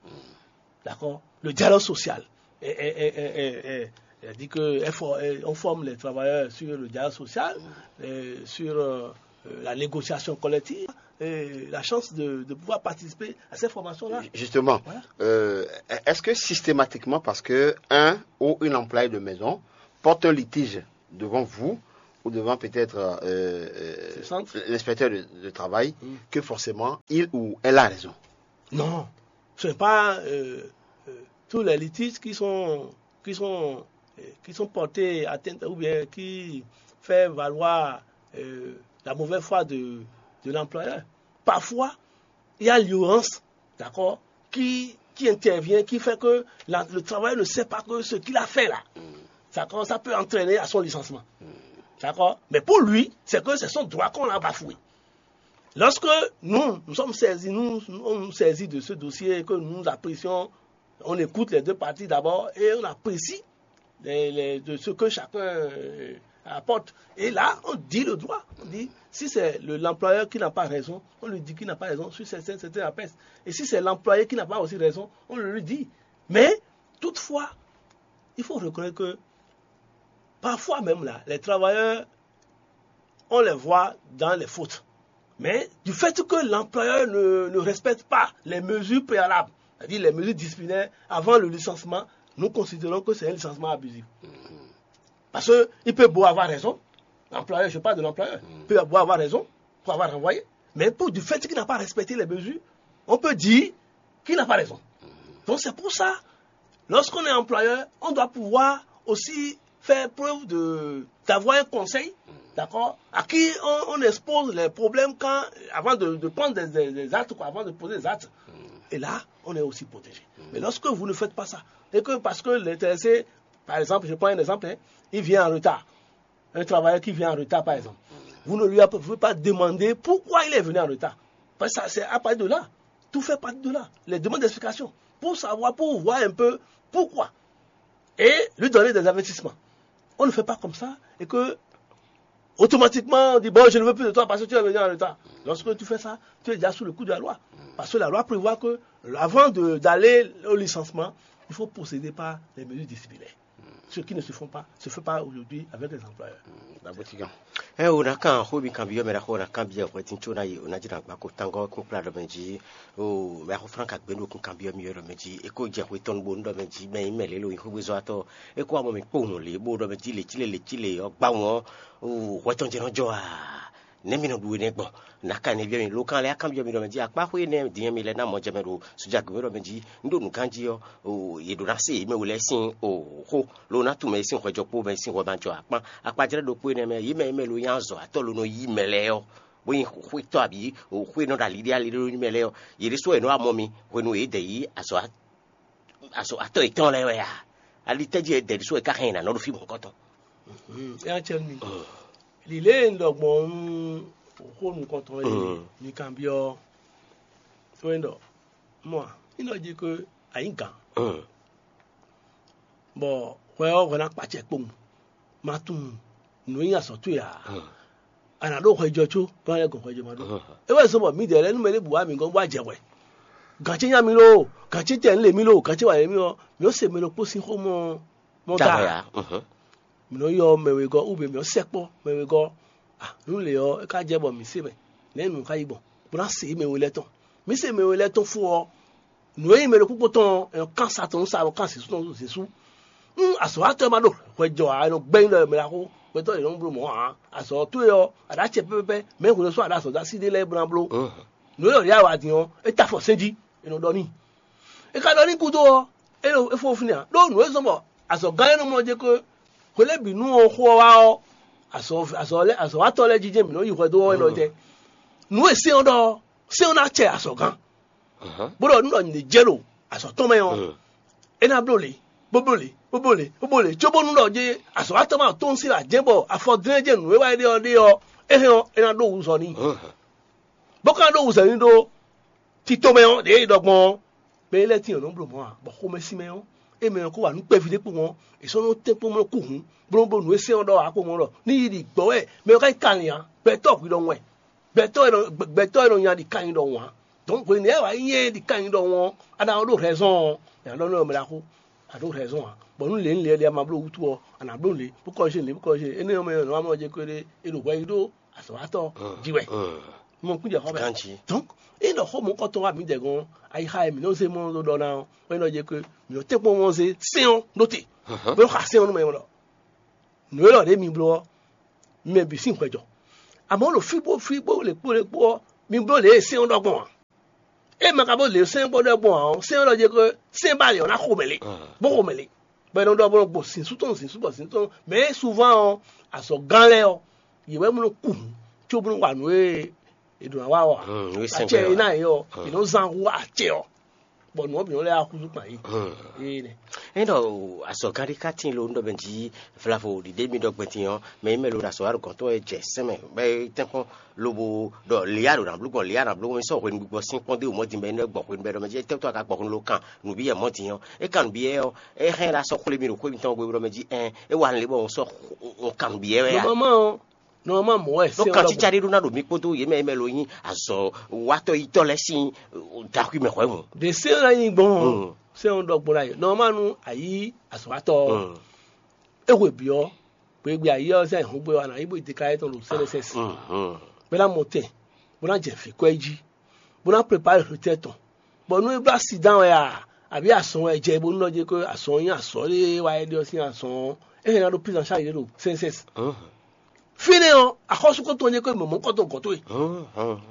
d'accord. Le dialogue social. Et, et- et- et- et- et- elle dit que elle for- elle- on forme les travailleurs sur le dialogue social, et sur euh, euh, la négociation collective, euh, la chance de, de pouvoir participer à ces formations-là. Justement, euh, est-ce que systématiquement, parce que un ou une employée de maison porte un litige devant vous ou devant peut-être euh, euh, l'inspecteur de, de travail, que forcément, il ou elle a raison? Non, ce n'est pas euh, euh, tous les litiges qui sont, qui sont, euh, qui sont portés atteinte ou bien qui fait valoir euh, la mauvaise foi de, de l'employeur. Parfois, il y a l'ignorance, d'accord, qui, qui intervient, qui fait que la- le travailleur ne sait pas que ce qu'il a fait là, d'accord, ça peut entraîner à son licenciement. D'accord? Mais pour lui, c'est que c'est son droit qu'on l'a bafoué. Lorsque nous, nous sommes saisis, nous, nous sommes saisis de ce dossier et que nous apprécions, on écoute les deux parties d'abord et on apprécie les- les- de ce que chacun euh, apporte. Et là, on dit le droit. On dit, si c'est le- l'employeur qui n'a pas raison, on lui dit qu'il n'a pas raison sur certains, certains aspects. Et si c'est l'employé qui n'a pas aussi raison, on le lui dit. Mais, toutefois, il faut reconnaître que parfois même là, les travailleurs, on les voit dans les fautes. Mais du fait que l'employeur ne, ne respecte pas les mesures préalables, c'est-à-dire les mesures disciplinaires avant le licenciement, nous considérons que c'est un licenciement abusif. Parce qu'il peut beau avoir raison, l'employeur, je parle de l'employeur, il peut beau avoir raison pour avoir renvoyé, mais pour, du fait qu'il n'a pas respecté les mesures, on peut dire qu'il n'a pas raison. Donc c'est pour ça, lorsqu'on est employeur, on doit pouvoir aussi faire preuve de d'avoir un conseil, d'accord, à qui on, on expose les problèmes quand, avant de, de prendre des, des- des actes, quoi, avant de poser des actes. Et là, on est aussi protégé. Mais lorsque vous ne faites pas ça, et que parce que l'intéressé, par exemple, je prends un exemple, hein, il vient en retard, un travailleur qui vient en retard, par exemple, vous ne lui pouvez pas demander pourquoi il est venu en retard. Parce que ça, c'est à partir de là. Tout fait partie de là. Les demandes d'explication. Pour savoir, pour voir un peu pourquoi. Et lui donner des avertissements. On ne fait pas comme ça et que automatiquement on dit, bon, je ne veux plus de toi parce que tu es venu en retard. Lorsque tu fais ça, tu es déjà sous le coup de la loi. Parce que la loi prévoit que avant de- d'aller au licenciement, il faut procéder par les mesures disciplinaires. Ce qui ne se font pas, se fait pas aujourd'hui avec les employeurs. Ɛ o na kan xó mi kan byɔ́ mɛ ɖaxó na kan byɔ́ hwɛtin có ná yi o ná jɛ na gba ko tangɔ kún kplá ɖɔ mɛ jí. O mɛ axó fran ka gbɛ́ ɖo kún kan byɔ́ mi ɖɔ mɛ jí. E ko jɛ xwe tɔn bo ɖɔ mɛ jí mɛ yi mɛ lě lo yi xógbézɔ́ atɔ. E ko amɔ mi kpó nɔ lě bó ɖɔ mɛ jí lě cí lě lě cí lě ɔ́ gbá wɔn. O hwɛ tɔn jɛ nɔ jɔ a? Nɛ̌ mi nɔ ɖu énɛ́ gbɔn? Naka nɛ́ byɔ́ mi lo kan lɛ́ɛ á kanbyɔ́ mi ɖɔ mɛ jí akpá xwé nɛ́ din mi lɛ́ ná mɔ jɛ mɛ ɖo sójà gěmɛ ɖɔ mɛ jí. Un ɖo nǔgán jí ɔ́, yě ɖó ná se yě mɛ we lɛ́ɛ sín xó, ló ná tunwun mɛ e sín hwɛjɔ kpó mɛ e sín hwɛ ma jɔ akpán. Akpajlɛ́ ɖokpó énɛ́ mɛ, yě mɛ e mɛ lo nyí azɔ̌ atɔ́ lo nɔ yí mɛ lɛ́ɛ ɔ́, bó nyí xwétɔ́ abǐ xwé nɔ ɖo aliɖé aliɖé ɖó nyi mɛ lɛ́ɛ ɔ́, yě ɖésú wɛ è nɔ wá mɔ mi hwenu e yě dɛ yí azɔ̌ azɔ̌ atɔ́ yětɔn lɛ́ɛ wɛ a? Ali tɛ́ jí wɛ dɛ ɖésú wɛ ká hɛn nǎ nɔ ɖo fí mɔ̌hunkɔtɔn? Ɛ acɛ mi. Lǐlé e un ɖɔ gbɔn nú xó nukɔntɔn e mi kanbyɔ́ ɔ́, é wɛ un ɖɔ, mɔ a, un ɖɔ jí ko a nyǐ gǎn, bɔ hwɛ ɔ́ hwɛ ná kpa acɛ kpowun, ma tunwun nǔ e nyí azɔ̌ towe ǎ. A nǎ ɖo hwɛjɔ có bó ná lɛ́ gɔn hwɛjɔ ma ɖó. É wɛ zɔ́n bɔ mǐdɛɛ lɛ́ɛ nú mɛ ɖěbǔ wá mǐ gɔ́n bó wá jɛ hwɛ. Gǎn ce nya mì lo, gǎn ce tɛ lě mì lo, gǎn ce wa lě mì ɔ́, mǐ ó se mɛ ɖokpó sín xó mɔ mɔ da. Mǐ nɔ ylɔ́ mɛ wegɔ́ wú mɛ mǐ nɔ sɛkpɔ́ mɛ wegɔ́. Nǔ lě ɔ́, é ka jɛ bɔ mǐ se mɛ, nɛ̌ nǔ ka yi gbɔn, bó ná se mɛ we lɛ́ɛ tɔn. Mǐ se mɛ we lɛ́ɛ tɔn fó ɔ́, nǔ e nyí mɛ ɖokpó tɔn ɔ́, è nɔ kán sa tɔn nú sa, è nɔ kán zǐsú tɔn nú zǐsú. Nú azɔ̌watɔ́ ma ɖo hwɛ jɔ ǎ, è nɔ gbɛ́ nyi ɖɔ mɛ ɖaxó, gbɛtɔ́ yě nɔ bló mɔ̌ ǎ. Azɔ̌ towe ɔ́, a ɖǒ acɛ pɛ́pɛ́pɛ́, mɛ̌ hwenu e sɔ́ a ɖo azɔ̌ dó así ɖé lɛ́ɛ bó ná bló. Nǔ e ɔ́ ɖě a wa din ɔ́, é ta afɔ sɛ́n jí, è nɔ ɖɔ n'i. É ka ɖɔ n'i gúdo ɔ́, é ɖo é fó fínɛ́ ǎ, ɖó nǔ e zɔ́n bɔ azɔ̌gán énɛ́ mlɔ́ jɛ ko hwe lɛ́ɛ bǐ nú ɔ́ xó ɔ́ wá ɔ́, azɔ̌ azɔ̌ lɛ́ɛ azɔ̌watɔ́ lɛ́ɛ jijɛ mǐ nɔ yi hwɛ dó ɔ́ élɔ́ jɛ. Nǔ e sɛ́n ɔ́ ɖɔ ɔ́, sɛ́n ɔ́ ná acɛ azɔ̌gán, bó ɖɔ nú ɖɔ nǔɖé jɛ ɖo azɔ̌ tɔn mɛ ɔ́, é ná bló lě, bó bló lě, bó bló lě, bó bló lě, cóbónú ɖɔ jɛ azɔ̌watɔ́ ma tɔ́n sín ajɛ́ bɔ afɔ dlɛ́n jɛ nǔ e wá é ɖe ɔ́ ɖe ɔ́, é hɛn ɔ́, é ná ɖó wǔzɔ n'i. Bó ka ɖó wǔzɔ n'i ɖó tito mɛ ɔ́, ɖě e ɖɔ gbɔn ɔ́, mɛ e lɛ́ tín ɔ́ nɔ bló mɔ̌ ǎ, bɔ xomɛsin mɛ ɔ́, é mɛ ɔ́ kó wa nǔ kpɛví ɖé kpowun ɔ́, è sɔ́ nɔ tɛ́n kpó mlɔ́ kú hǔn, bó nɔ́ bló nǔ e sɛ́n ɔ́ ɖɔ ǎ kpowun ɔ́ ɖɔ ní yi ɖi gbɔ̌ wɛ mɛ ɔ́ ka nyí kanlin ǎ. Gbɛtɔ́ hwi ɖɔ wɛ, gbɛtɔ́ e nɔ gbɛtɔ́ e nɔ nya ɖi kanlin ɖɔhun ǎ. Dɔ̌n hwenu e wǎ nyí ɛ ɖi kanlin ɖɔhun ɔ́, a nǎ ɖó hɛzɔ́n ɔ́, è nǎ ɖɔ nú ɔ́ mɛ ɖaxó, a ɖǒ hɛzɔ́n ǎ. Bɔ nú lě nú lě e a ma bló wútu ɔ́, a nǎ bló lě, bó kɔ́ zé lě, bó kɔ́ zé énɛ́ ɔ́ mɛ ɔ́, è nɔ wá mɔ jɛ kpéɖé, è ɖo hwɛ yi ɖó azɔ̌watɔ́ jí wɛ. Mɔ kún jɛ xɔ mɛ. Ganjí. Donc, é nɔ xó mɔ̌kɔtɔn wá mǐdɛɛ gɔ́n, ayixa e mǐ nɔ zé mɔ ɖɔ ná ɔ́, é nɔ jɛ kó mǐ nɔ tɛ́nkpɔ́n mɔ zé sɛ́n ɔ́ ɖó te, bó nɔ xa sɛ́n ɔ́ nú mɛ lɔ. Nǔ élɔ́ ɖě mi bló ɔ́, mɛ bǐ sín hwɛ jɔ. Amɔ̌ ɖo fí bó fí bó lě kpó lě kpó ɔ́, mi bló lě e sɛ́n ɔ́ ɖɔ gbɔn ǎ. É ma ka bó lě sɛ́n bó ɖɔ gbɔn ǎ ɔ́, sɛ́n ɔ́ ɖɔ jɛ kó sɛ́n ba lě ɔ́ ná xo mɛ lé, bó xo mɛ lé. Bɔ è nɔ ɖɔ bó nɔ gbo sǐnsú tɔn sǐnsú bɔ sǐnsú tɔn, mɛ é souvent ɔ́, azɔ̌gán lɛ́ɛ ɔ́, yě wɛ mɔ nɔ ku hǔn, cóbónú wa nǔ e è ɖǒ ná wa ɔ́ ǎ. Acɛ e ná yě ɔ́, è nɔ zán hú acɛ ɔ́, bɔ nǔ ɔ́ bǐ nɔ lɛ́ axúzú kpan yí. Énɛ́. Ényí ɖɔ azɔ̌gán ɖé ka tíin lo nú ɖɔ mɛ jí vlavo ɖiɖe mi ɖɔ gbɛn din ɔ́, mɛ e mɛ lo ɖo azɔ̌ wa ɖo gɔ̌n tɔn wɛ jɛ sɛn mɛ bɔ é tɛ́nkpɔ́n lobo ɖɔ Lea ɖo nǎ bló gbɔn, Lea nǎ bló gbɔn, mɛ sɔ́ hwenu gbigbɔ sín kpɔ́n dó mɔ̌ din bɔ é nɔ gbɔ hwenu bɔ é ɖɔ mɛ jí étɛ́ tó a ka gbɔ hwenu lo kan nǔbíyɛ mɔ̌ din ɔ́, é kan nǔbíyɛ ɔ́, é hɛn ɖo asɔ́ xwlé mì ɖo xwé mitɔn gbe ɖɔ mɛ jí ɛn é wa lě bɔ un sɔ́ un kan nǔbíyɛ wɛ a? Nɔmama ɔ́, nɔmama mɔ̌ wɛ Nɔ sɛ́n kan ɔ́ ɖɔ cícá ɖé ɖó ná ɖo mí kpódó yě mɛ e mɛ lo nyí azɔ̌ watɔ́ yitɔ́ lɛ́ɛ sín dǎkúi mɛ hwɛ̌ hǔn. Ɖe sɛ́n ɔ́ ná nyí gbɔn ɔ́, sɛ́n ɔ́ ɖɔ gbɔn ná yě. Nɔmama nú a yí azɔ̌watɔ́ ɔ́, é hwe bǐ ɔ́, gběgbé ayé ɔ́ zán ɛhɔ̌ngbe ɔ́, a nǎ yi bó yi dekáyɛ tɔn ɖo sɛ́lɛsɛ́si, bó ná mɔ tɛn, bó ná jɛ vǐ kɔ́ yi jí, bó ná prepare hwetɛ́ tɔn, bɔ nú é bló asi dán wɛ a, abǐ azɔn wɛ jɛ bónú nɔ jɛ kó azɔn nyí azɔ̌ ɖé wá é ɖe ɔ́ sín azɔn ɔ́, é hɛn ná ɖó prise en charge ɖo sɛ́nsɛ́si. Fínɛ́ ɔ́, axɔ́sú kɔn tɔn jɛ kó mɔ̌mɔ́ kɔn tɔn gɔ̌ towe,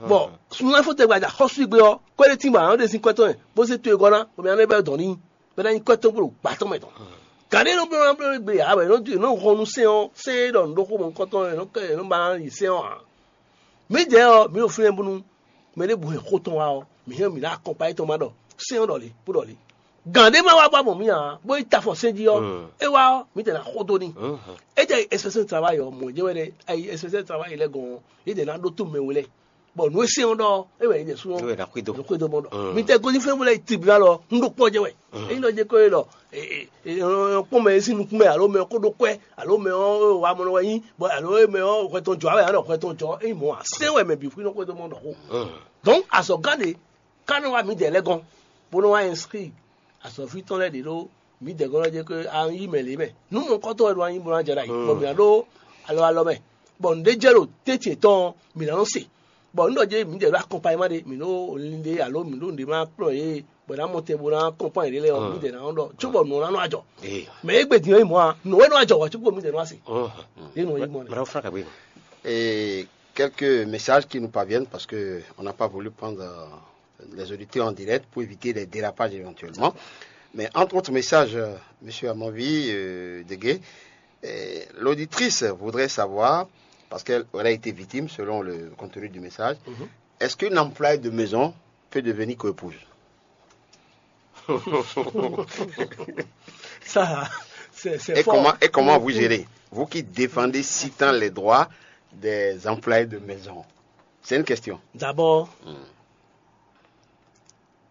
bɔ sunnu fó tɛgbɛ axɔ́sú gbe ɔ́, kɔ́ ɖé tíngbɔ àwọn ɖe sín kɔ́ tɔn bó zé towe gɔ́ ná, bɔ mɛ ná bɛ́ dɔn n'i, bɔ é ná nyí kɔ́ tɔn bó ɖo gbǎ tɔn mɛ tɔn. Gǎn ɖé nɔ bló ná bló gbe ǎ, bɔ è nɔ hɔn nú sɛ́n ɔ́, sɛ́n e ɖɔ nǔ ɖó xó mɔ̌hunkɔtɔn è nɔ kɛ è nɔ ba ná yi sɛ́n ɔ́ ǎ. Mǐdɛɛ ɔ́, mǐ ɖo fínɛ́ bónú mɛ ɖěbǔ hɛn xó tɔn wá ɔ́, mǐ hɛn mǐ ná akɔnpa yětɔn ma ɖɔ sɛ́n ɔ́ ɖɔ lě bó ɖɔ lě. Gǎn ɖé ma wá bɔ mǐ ǎ, bó yi ta afɔ sɛ́n jí ɔ́, é wá ɔ́, mǐ tɛ ná xo dó n'i. É jɛ espèce de travail ɔ́, mɔ̌ jɛ́n wɛ ɖɛ, ayi espèce de travail lɛ́ɛ gɔn ɔ́, yě dɛ ná ɖótó mɛ we lɛ́ɛ, bɔ nǔ e sɛ́n ɔ́ ɖɔ ɔ́, é wɛ yě jɛ sú ɔ́. Xwedó. Xwedó mɔ ɖɔ. Mǐ tɛ gosín fɛ́nú lɛ́ɛ yi tribunal ɔ́, un ɖo kpɔ́ jɛ wɛ. Ényí ɖɔ jɛ kó e ɖɔ kpɔ́n mɛ e sín nukún mɛ alo mɛ ɔ́ kó ɖó kwɛ́ alo mɛ ɔ́ wa mɔ nɔ wɛ nyí, bɔ alo mɛ ɔ́ hwɛ tɔn jɔ wɛ alo hwɛ tɔn jɔ, ényí mɔ̌ ǎ, sɛ́n wɛ mɛ bǐ xwí nɔ xwedó mɔ ɖɔ xó. Donc azɔ̌gán ɖé ká nɔ wá mǐdɛɛ lɛ́ɛ gɔ́n, bó nɔ́ wá inscrit azɔ̌ví tɔn lɛ́ɛ ɖě ɖó mǐdɛɛ gɔ́n lɛ́ɛ jɛ kó a yí mɛ lě mɛ. Nǔ mɔ̌hunkɔtɔn wɛ ɖo anyi bó ná jɛ ɖ'ayǐ, bɔ mǐ ná ɖó alɔ alɔ mɛ, bɔ nǔɖé jɛ ɖo tɛ́ntin yětɔn ɔ́, mǐ ná nɔ se. Bɔ nǔ ɖɔ jɛ mǐdɛɛ ɖó akɔnpayima ɖé, mǐ ɖó linlin ɖé alo mǐ ɖó nǔɖé ma kplɔ́n yě, bɔ è nǎ mɔ tɛn bó ná kɔn kpán yěɖée lɛ́ɛ ɔ́, mǐdɛɛ ná nɔ ɖɔ cóbɔ nǔ ɔ́ ná nɔ ajɔ. Mɛ e gbe din ɔ́ yi mɔ̌ ǎ, nǔ wɛ nɔ ajɔ wǎ cóbɔ mǐdɛɛ nɔ wá se. Yě nɔ yi gbɔn. Madame Franck Aboué. Et quelques messages qui nous parviennent parce que on n'a pas voulu prendre euh, les auditeurs en direct pour éviter les dérapages éventuellement. Mais entre autres messages, euh, monsieur Amanvi euh, Degué, euh, l'auditrice voudrait savoir, parce qu'elle elle a été victime selon le contenu du message, est-ce qu'une employée de maison peut devenir coépouse? Ça, c'est c'est Et fort. Comment, et comment vous gérez? Vous qui défendez si tant les droits des employés de maison. C'est une question. D'abord,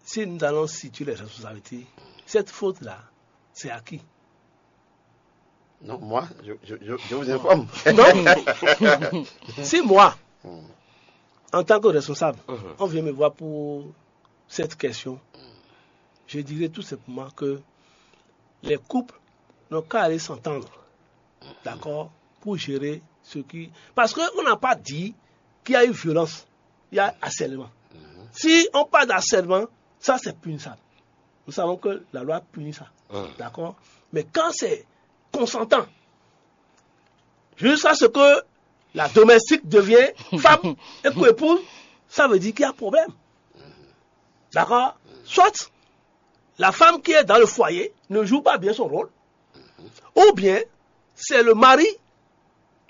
si nous allons situer les responsabilités, cette faute-là, c'est à qui? Non, moi, je, je, je, je vous informe. Non. Si moi, en tant que responsable, on vient me voir pour cette question, je dirais tout simplement que les couples n'ont qu'à aller s'entendre, d'accord, pour gérer ce qui... Parce qu'on n'a pas dit qu'il y a eu violence, il y a harcèlement. Si on parle d'harcèlement, ça c'est punissable. Nous savons que la loi punit ça, d'accord? Mais quand c'est consentant, jusqu'à ce que la domestique devient femme et coépouse, ça veut dire qu'il y a problème. D'accord? Soit la femme qui est dans le foyer ne joue pas bien son rôle, ou bien c'est le mari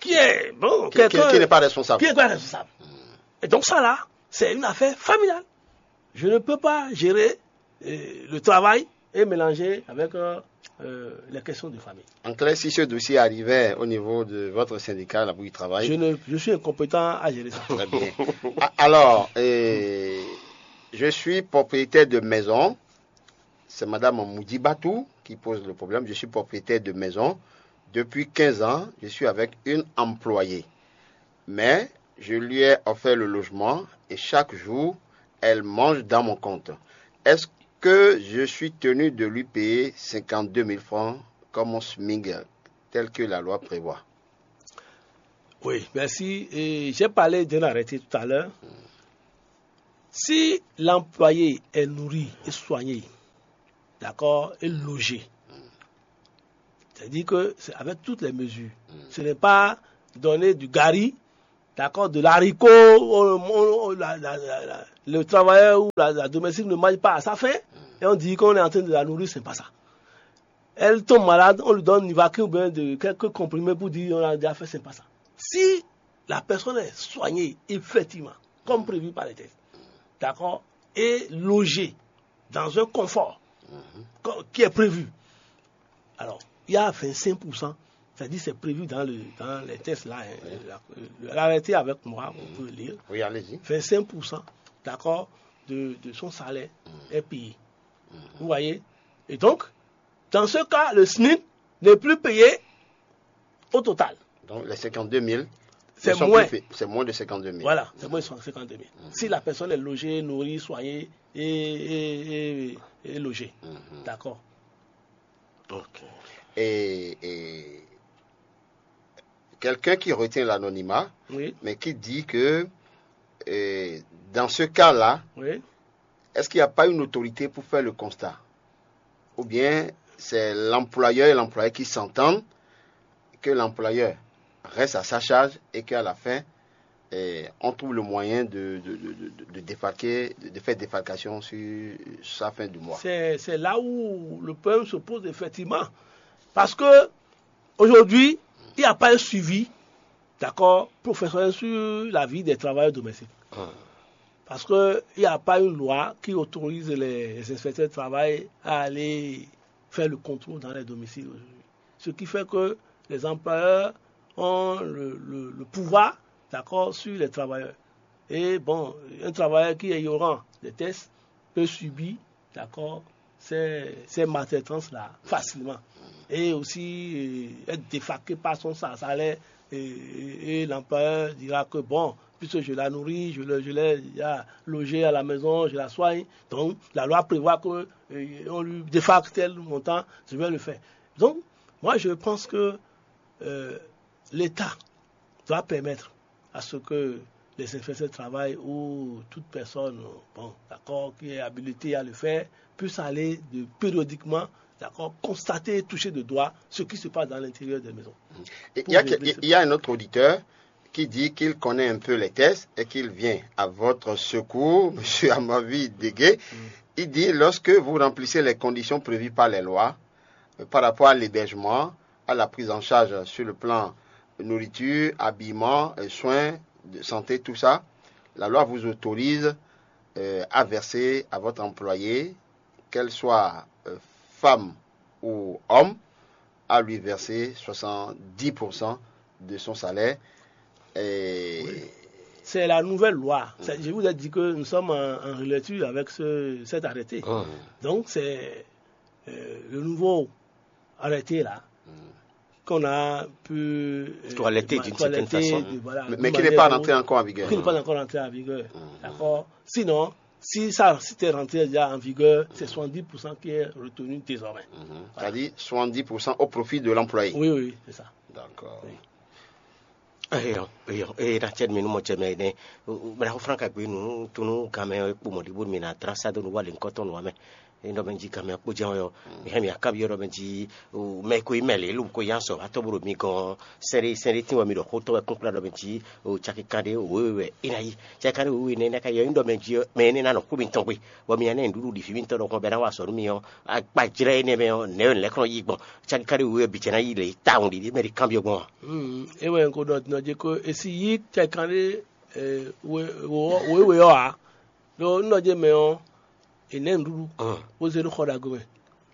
qui est, bon, Qui, qui- quelqu'un qui n'est pas responsable. qui n'est pas responsable. Et donc ça là, c'est une affaire familiale. Je ne peux pas gérer euh, le travail et mélanger avec euh, euh, les questions de famille. En clair, si ce dossier arrivait au niveau de votre syndicat, la bouille travail. Je, ne, je suis incompétent à gérer ça. Très bien. Ah, Alors, euh, je suis propriétaire de maison. C'est Madame Moudjibatou qui pose le problème. Je suis propriétaire de maison. Depuis quinze ans, je suis avec une employée. Mais je lui ai offert le logement et chaque jour, elle mange dans mon compte. Est-ce que je suis tenu de lui payer cinquante-deux mille francs comme mon SMIG, tel que la loi prévoit? Oui, merci. Et j'ai parlé d'un arrêté tout à l'heure. Si l'employé est nourri et soigné, d'accord, et logé, c'est-à-dire que c'est avec toutes les mesures. Ce n'est pas donner du gari, d'accord, de l'haricot, on- on- on- la- la- la- la- le travailleur ou la, la domestique ne mange pas à sa faim, et on dit qu'on est en train de la nourrir, c'est pas ça. Elle tombe malade, on lui donne Nivaquin ou bien de quelques comprimés pour dire on a déjà fait, c'est pas ça. Si la personne est soignée, effectivement, comme prévu par les textes, d'accord, et logée dans un confort co- qui est prévu, alors, il y a vingt-cinq pour cent, c'est-à-dire c'est prévu dans, le, dans les textes là, hein, la- l'arrêté avec moi, on peut lire, Oui, allez-y. vingt-cinq pour cent, d'accord, de, de son salaire est payé. Vous voyez? Et donc, dans ce cas, le SMIC n'est plus payé au total. Donc les cinquante-deux mille, C'est ne sont moins. Plus payés. C'est moins de cinquante-deux mille. Voilà, c'est moins de cinquante-deux mille. Si la personne est logée, nourrie, soignée et, et- et- et logée. D'accord. Et, et quelqu'un qui retient l'anonymat, Oui, mais qui dit que euh, dans ce cas-là, oui. Est-ce qu'il n'y a pas une autorité pour faire le constat? Ou bien c'est l'employeur et l'employé qui s'entendent, que l'employeur reste à sa charge et qu'à la fin, eh, on trouve le moyen de, de, de, de- de défalquer, de faire défalcation sur sa fin du mois. C'est c'est là où le problème se pose effectivement. Parce que aujourd'hui, il n'y a pas un suivi, d'accord, professionnel sur la vie des travailleurs domestiques. Parce qu'il n'y a pas une loi qui autorise les, les inspecteurs de travail à aller faire le contrôle dans les domiciles aujourd'hui. Ce qui fait que les employeurs ont le, le- le pouvoir, d'accord, sur les travailleurs. Et bon, un travailleur qui est ignorant des tests peut subir, d'accord, ces, ces maltraitances-là facilement. Et aussi euh, être défalqué par son sa- salaire et, et- et l'employeur dira que bon, puisque je la nourris, je l'ai je l'ai déjà logé à la maison, je la soigne. Donc la loi prévoit que euh, on lui défalque tel montant, je vais le faire. Donc moi je pense que euh, l'État doit permettre à ce que les inspecteurs de travail ou toute personne, bon, d'accord, qui est habilitée à le faire, puisse aller de, périodiquement, d'accord, constater et toucher de doigt ce qui se passe dans l'intérieur des maisons. Et il, y a, que- il y a un autre auditeur qui dit qu'il connaît un peu les tests et qu'il vient à votre secours, Monsieur Amavi Degué. Il dit, lorsque vous remplissez les conditions prévues par les lois euh, par rapport à l'hébergement, à la prise en charge sur le plan nourriture, habillement, euh, soins de santé, tout ça, la loi vous autorise euh, à verser à votre employé, qu'elle soit euh, femme ou homme, à lui verser soixante-dix pour cent de son salaire. Et C'est la nouvelle loi. C'est- Je vous ai dit que nous sommes en, en relecture avec ce- cet arrêté. Donc, c'est euh, le nouveau arrêté là qu'on a pu euh, Toiletter d'une certaine toiletter façon. de- voilà, Mais, de mais qui n'est manière pas générale, rentré encore en vigueur. Qui n'est pas encore rentré en vigueur. D'accord. Sinon, si ça s'était rentré déjà en vigueur, c'est soixante-dix pour cent qui est retenu désormais. C'est-à-dire soixante-dix pour cent au profit de l'employé. Oui, oui, c'est ça. D'accord. Eyo, eyo, eye na cɛ mi nu mɔ cɛ mɛ ne. Bla ko fran ka gbe nu tunu game kpo mɔ ɖi bo mi na dra sa do nu wa le nkɔtɔn nu amɛ. Eye nɔ mɛ ji game kpo jɛ yɔ. Mi hɛ mi akabi yɔ nɔ mɛ ji mɛ ko yi mɛ le lu ko yan sɔ atɔ bo ɖo mi gɔn. Sɛnɖe sɛnɖe tin wɔ mi ɖɔ xotɔ wɛ kunkla nɔ mɛ ji o caki kan ɖe o wewe wɛ e na yi. Caki kan ɖe o wewe ne ne ka yɔ nɔ mɛ ji mɛ ne na nɔ ku mi tɔn gbe. Bɔ mi ya ne nuɖuɖu ɖi fi mi tɔn ɖɔ kɔn bɛ na wa sɔ nu mi ɔ. Agbajlɛ ne mɛ ɔ ne yɔ ne lɛ kɔn yi gbɔn. Caki kan ɖe o wewe bi jɛ na yi le tawun ɖi mɛ ɖi kan bi gbɔn. Mm, e wɛ n ko ɖɔ dinɔ dzi ko esi yi kɛkan ɖe eh, we- wo- wewe ɔ a ɖo n ɖɔ dze mɛ ɔ e nɛ nuɖuɖu wo ze ɖo xɔ ɖago mɛ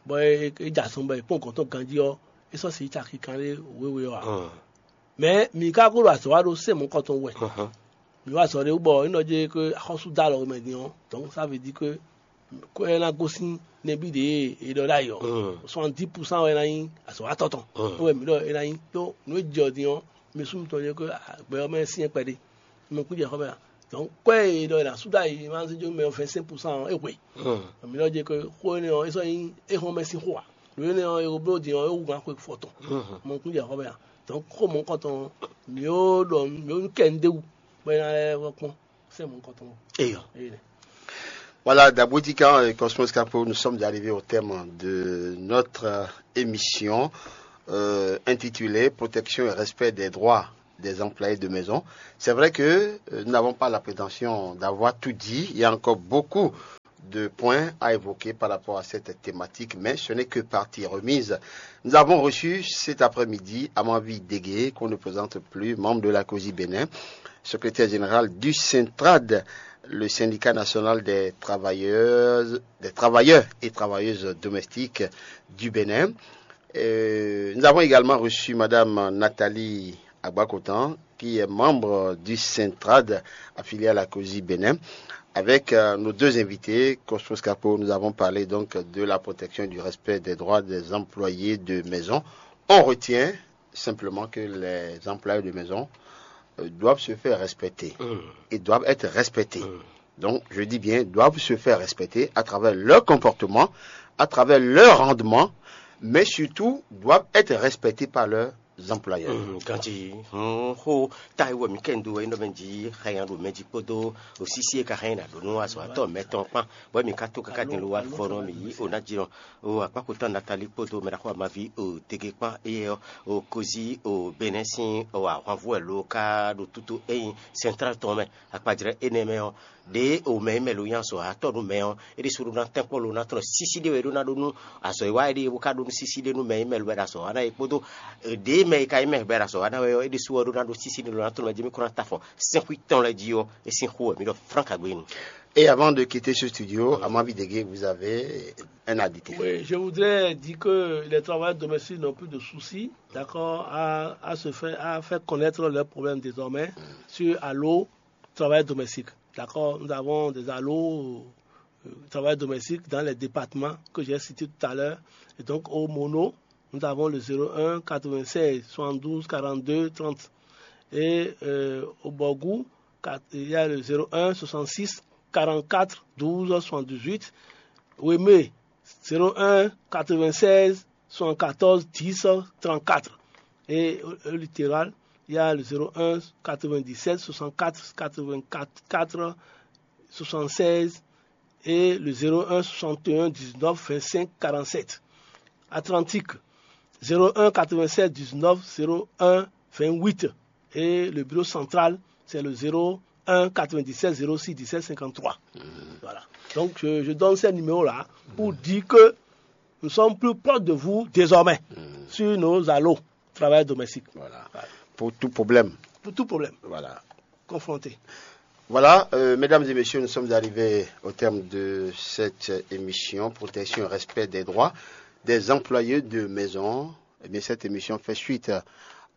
bɔ e e dza sɔn bɔ e kpɔn gɔntɔ ganji ɔ e sɔ si tsa kikan ɖe wewe ɔ a mɛ mi ka ko ɖo azɔ wa ɖo se mɔ kɔtɔn wɛ mi wa azɔ ɖe wú bɔ n ɖɔ dze ko axɔsu da alɔ mɛ din ɔ donc ça veut dire que ko ɛ na gosin nɛbi ɖe e ɖɔ ɖ'ayɔ soixante-dix pour cent wɛ na nyi azɔ wa tɔtɔn wɛ mi ɖɔ e na nyi to nu e jɛ ɔ din ɔ mi sún mitɔn dze ko gbɛ ɔ mɛ sinyɛ kpɛɖe mi kú jɛ xɔ mɛ a donc kɔ e ɖɔ la suda yi ma se jo mɛ vingt-cinq pour cent e hwe mi lɔ je ke xo ne ɔ esɔ yin e hɔn mɛ sin xo a lo ne ɔ e blo din ɔ e wu gan xo fɔtɔn mo kun jɛ xɔ mɛ a Donc xó mɔ̌hunkɔtɔn ɔ́, mǐ ó ɖɔ mǐ ó kɛ nu d'é wú bɔ é ná lɛ́ vɔ́ kpɔ́n sɛ́ mɔ̌hunkɔtɔn ɔ́. Eyɔ. Voilà, Daboutika et Cosmos Capo, nous sommes arrivés au terme de notre euh, émission euh, intitulée Protection et respect des droits des employés de maison. C'est vrai que euh, nous n'avons pas la prétention d'avoir tout dit. Il y a encore beaucoup de points à évoquer par rapport à cette thématique, mais ce n'est que partie remise. Nous avons reçu cet après-midi Amanvi Dégué, qu'on ne présente plus, membre de la COSI Bénin, secrétaire général du Centrad, le syndicat national des travailleurs, des travailleurs et travailleuses domestiques du Bénin. Euh, nous avons également reçu Madame Nathalie Agbakotan, qui est membre du Centrad affilié à la COSI Bénin. Avec euh, nos deux invités, Cosmos Capo, nous avons parlé donc de la protection et du respect des droits des employés de maison. On retient simplement que les employés de maison euh, doivent se faire respecter et doivent être respectés. Donc, je dis bien, doivent se faire respecter à travers leur comportement, à travers leur rendement, mais surtout doivent être respectés par leurs employeurs. Ganji, xó ta yi wɛ mǐ kɛ nu dó wɛ nyí ɖɔ mɛ jí xɛnya ɖo mɛ jí kpódó osísí e ka xɛnya ɖo nú azɔ̌watɔ́ mɛtɔn kpán, bɔ mǐ ka tó káká din ló wá vɔ nɔ mǐ yí o ná jí nɔ o akpákpotɔ́ Natali kpódó mɛɖaxó amaví o tege kpán éyɛ́ ɔ́ o kozi o Benɛ́ sín o ahwanvú wɛ lo ka ɖo tútú ényí sɛntrál tɔn mɛ akpajlɛ́ énɛ́ mɛ ɔ́, ɖě o mɛ e mɛ lo nyí azɔ̌watɔ́ nú mɛ ɔ́, é ɖésú ɖó ná tɛ́nkpɔ́n lo ná tlɔ́n sísí ɖé wɛ é ɖó ná ɖó nú azɔ̌ e wá é ɖíe bó ka ɖó nú sísí ɖé nú mɛ e mɛ lo wɛ ɖo azɔ̌ wa ná é kpódó ɖě mɛ e ka nyí mɛ bɛ́ ɖo azɔ̌ wa ná wɛ ɔ́, é ɖésú ɔ́ ɖó ná ɖó sísí ɖé lo ná tlɔ́n mɛ jí mí kó ná ta afɔ sɛ́nxwí tɔn lɛ́ɛ jí ɔ́, é sín xó wɛ mǐ ɖɔ Franck Agbénu. Et avant de quitter ce studio, à ma vie de vous avez un adité. Oui, je voudrais dire que les travailleurs domestiques n'ont plus de soucis, d'accord, à, à se faire, à faire connaître leurs problèmes désormais sur Allo Travail Domestique. D'accord, nous avons des Allo euh, Travail Domestique dans les départements que j'ai cités tout à l'heure. Et donc, au Mono, nous avons le zéro un quatre-vingt-seize soixante-douze quarante-deux trente. Et euh, au Borgou, il y a le zéro un soixante-six quarante-quatre douze soixante-dix-huit. Wemé, zéro un quatre-vingt-seize soixante-quatorze dix trente-quatre. Et au littoral, il y a le zéro un quatre-vingt-dix-sept soixante-quatre quatre-vingt-quatre soixante-seize et le zéro un soixante et un dix-neuf vingt-cinq quarante-sept. Atlantique, zéro un quatre-vingt-sept dix-neuf zéro un vingt-huit. Et le bureau central, c'est le zéro un quatre-vingt-dix-sept zéro six dix-sept cinquante-trois. Voilà. Donc, je, je donne ces numéros-là pour dire que nous sommes plus proches de vous désormais sur nos allos travailleurs domestiques. Voilà. Pour tout problème. Pour tout problème. Voilà. Confrontés. Voilà, euh, mesdames et messieurs, nous sommes arrivés au terme de cette émission, protection et respect des droits des employés de maison. Eh bien, cette émission fait suite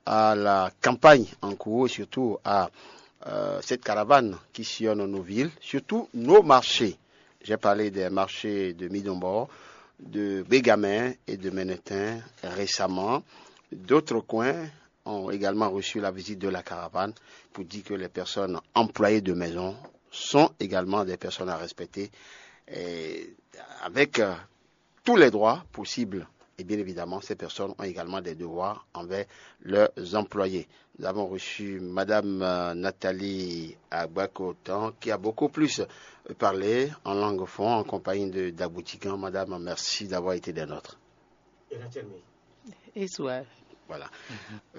à la campagne en cours et surtout à euh, cette caravane qui sillonne nos villes, surtout nos marchés. J'ai parlé des marchés de Midombo, de Bégamin et de Menetin récemment. D'autres coins ont également reçu la visite de la caravane pour dire que les personnes employées de maison sont également des personnes à respecter et avec euh, tous les droits possibles. Et bien évidemment, ces personnes ont également des devoirs envers leurs employés. Nous avons reçu Madame euh, Nathalie Agbakotan, qui a beaucoup plus euh, parlé en langue fond, en compagnie de Daboutigan. Madame, merci d'avoir été des nôtres. Eswar. Voilà.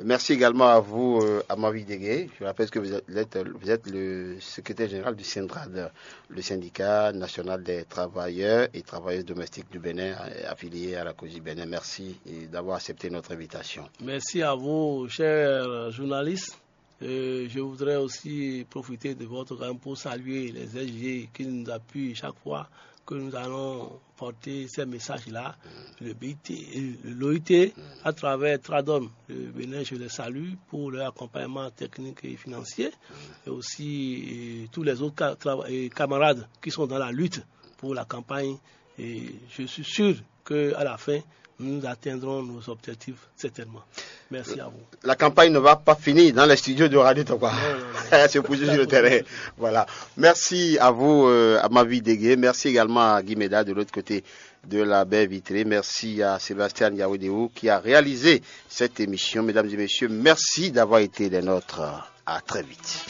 Merci également à vous, euh, Amavi Degué. Je rappelle que vous êtes, vous êtes le secrétaire général du Syndrad, le syndicat national des travailleurs et travailleuses domestiques du Bénin, euh, affilié à la COSI Bénin. Merci d'avoir accepté notre invitation. Merci à vous, chers journalistes. Euh, je voudrais aussi profiter de votre gamme pour saluer les S G qui nous appuient chaque fois que nous allons porter ces messages-là. Le B I T, l'O I T, à travers Tradom, le Bénin, je les salue pour leur accompagnement technique et financier, et aussi euh, tous les autres camarades qui sont dans la lutte pour la campagne. Et je suis sûr qu'à la fin, Nous atteindrons nos objectifs certainement. Merci à vous. La campagne ne va pas finir dans les studios de Radio Tokwa. C'est pour sur le terrain. Voilà. Merci à vous, euh, à Mavi Dégué. Merci également à Guy Méda de l'autre côté de la baie vitrée. Merci à Sébastien Yaoudéou qui a réalisé cette émission. Mesdames et messieurs, merci d'avoir été les nôtres. À très vite.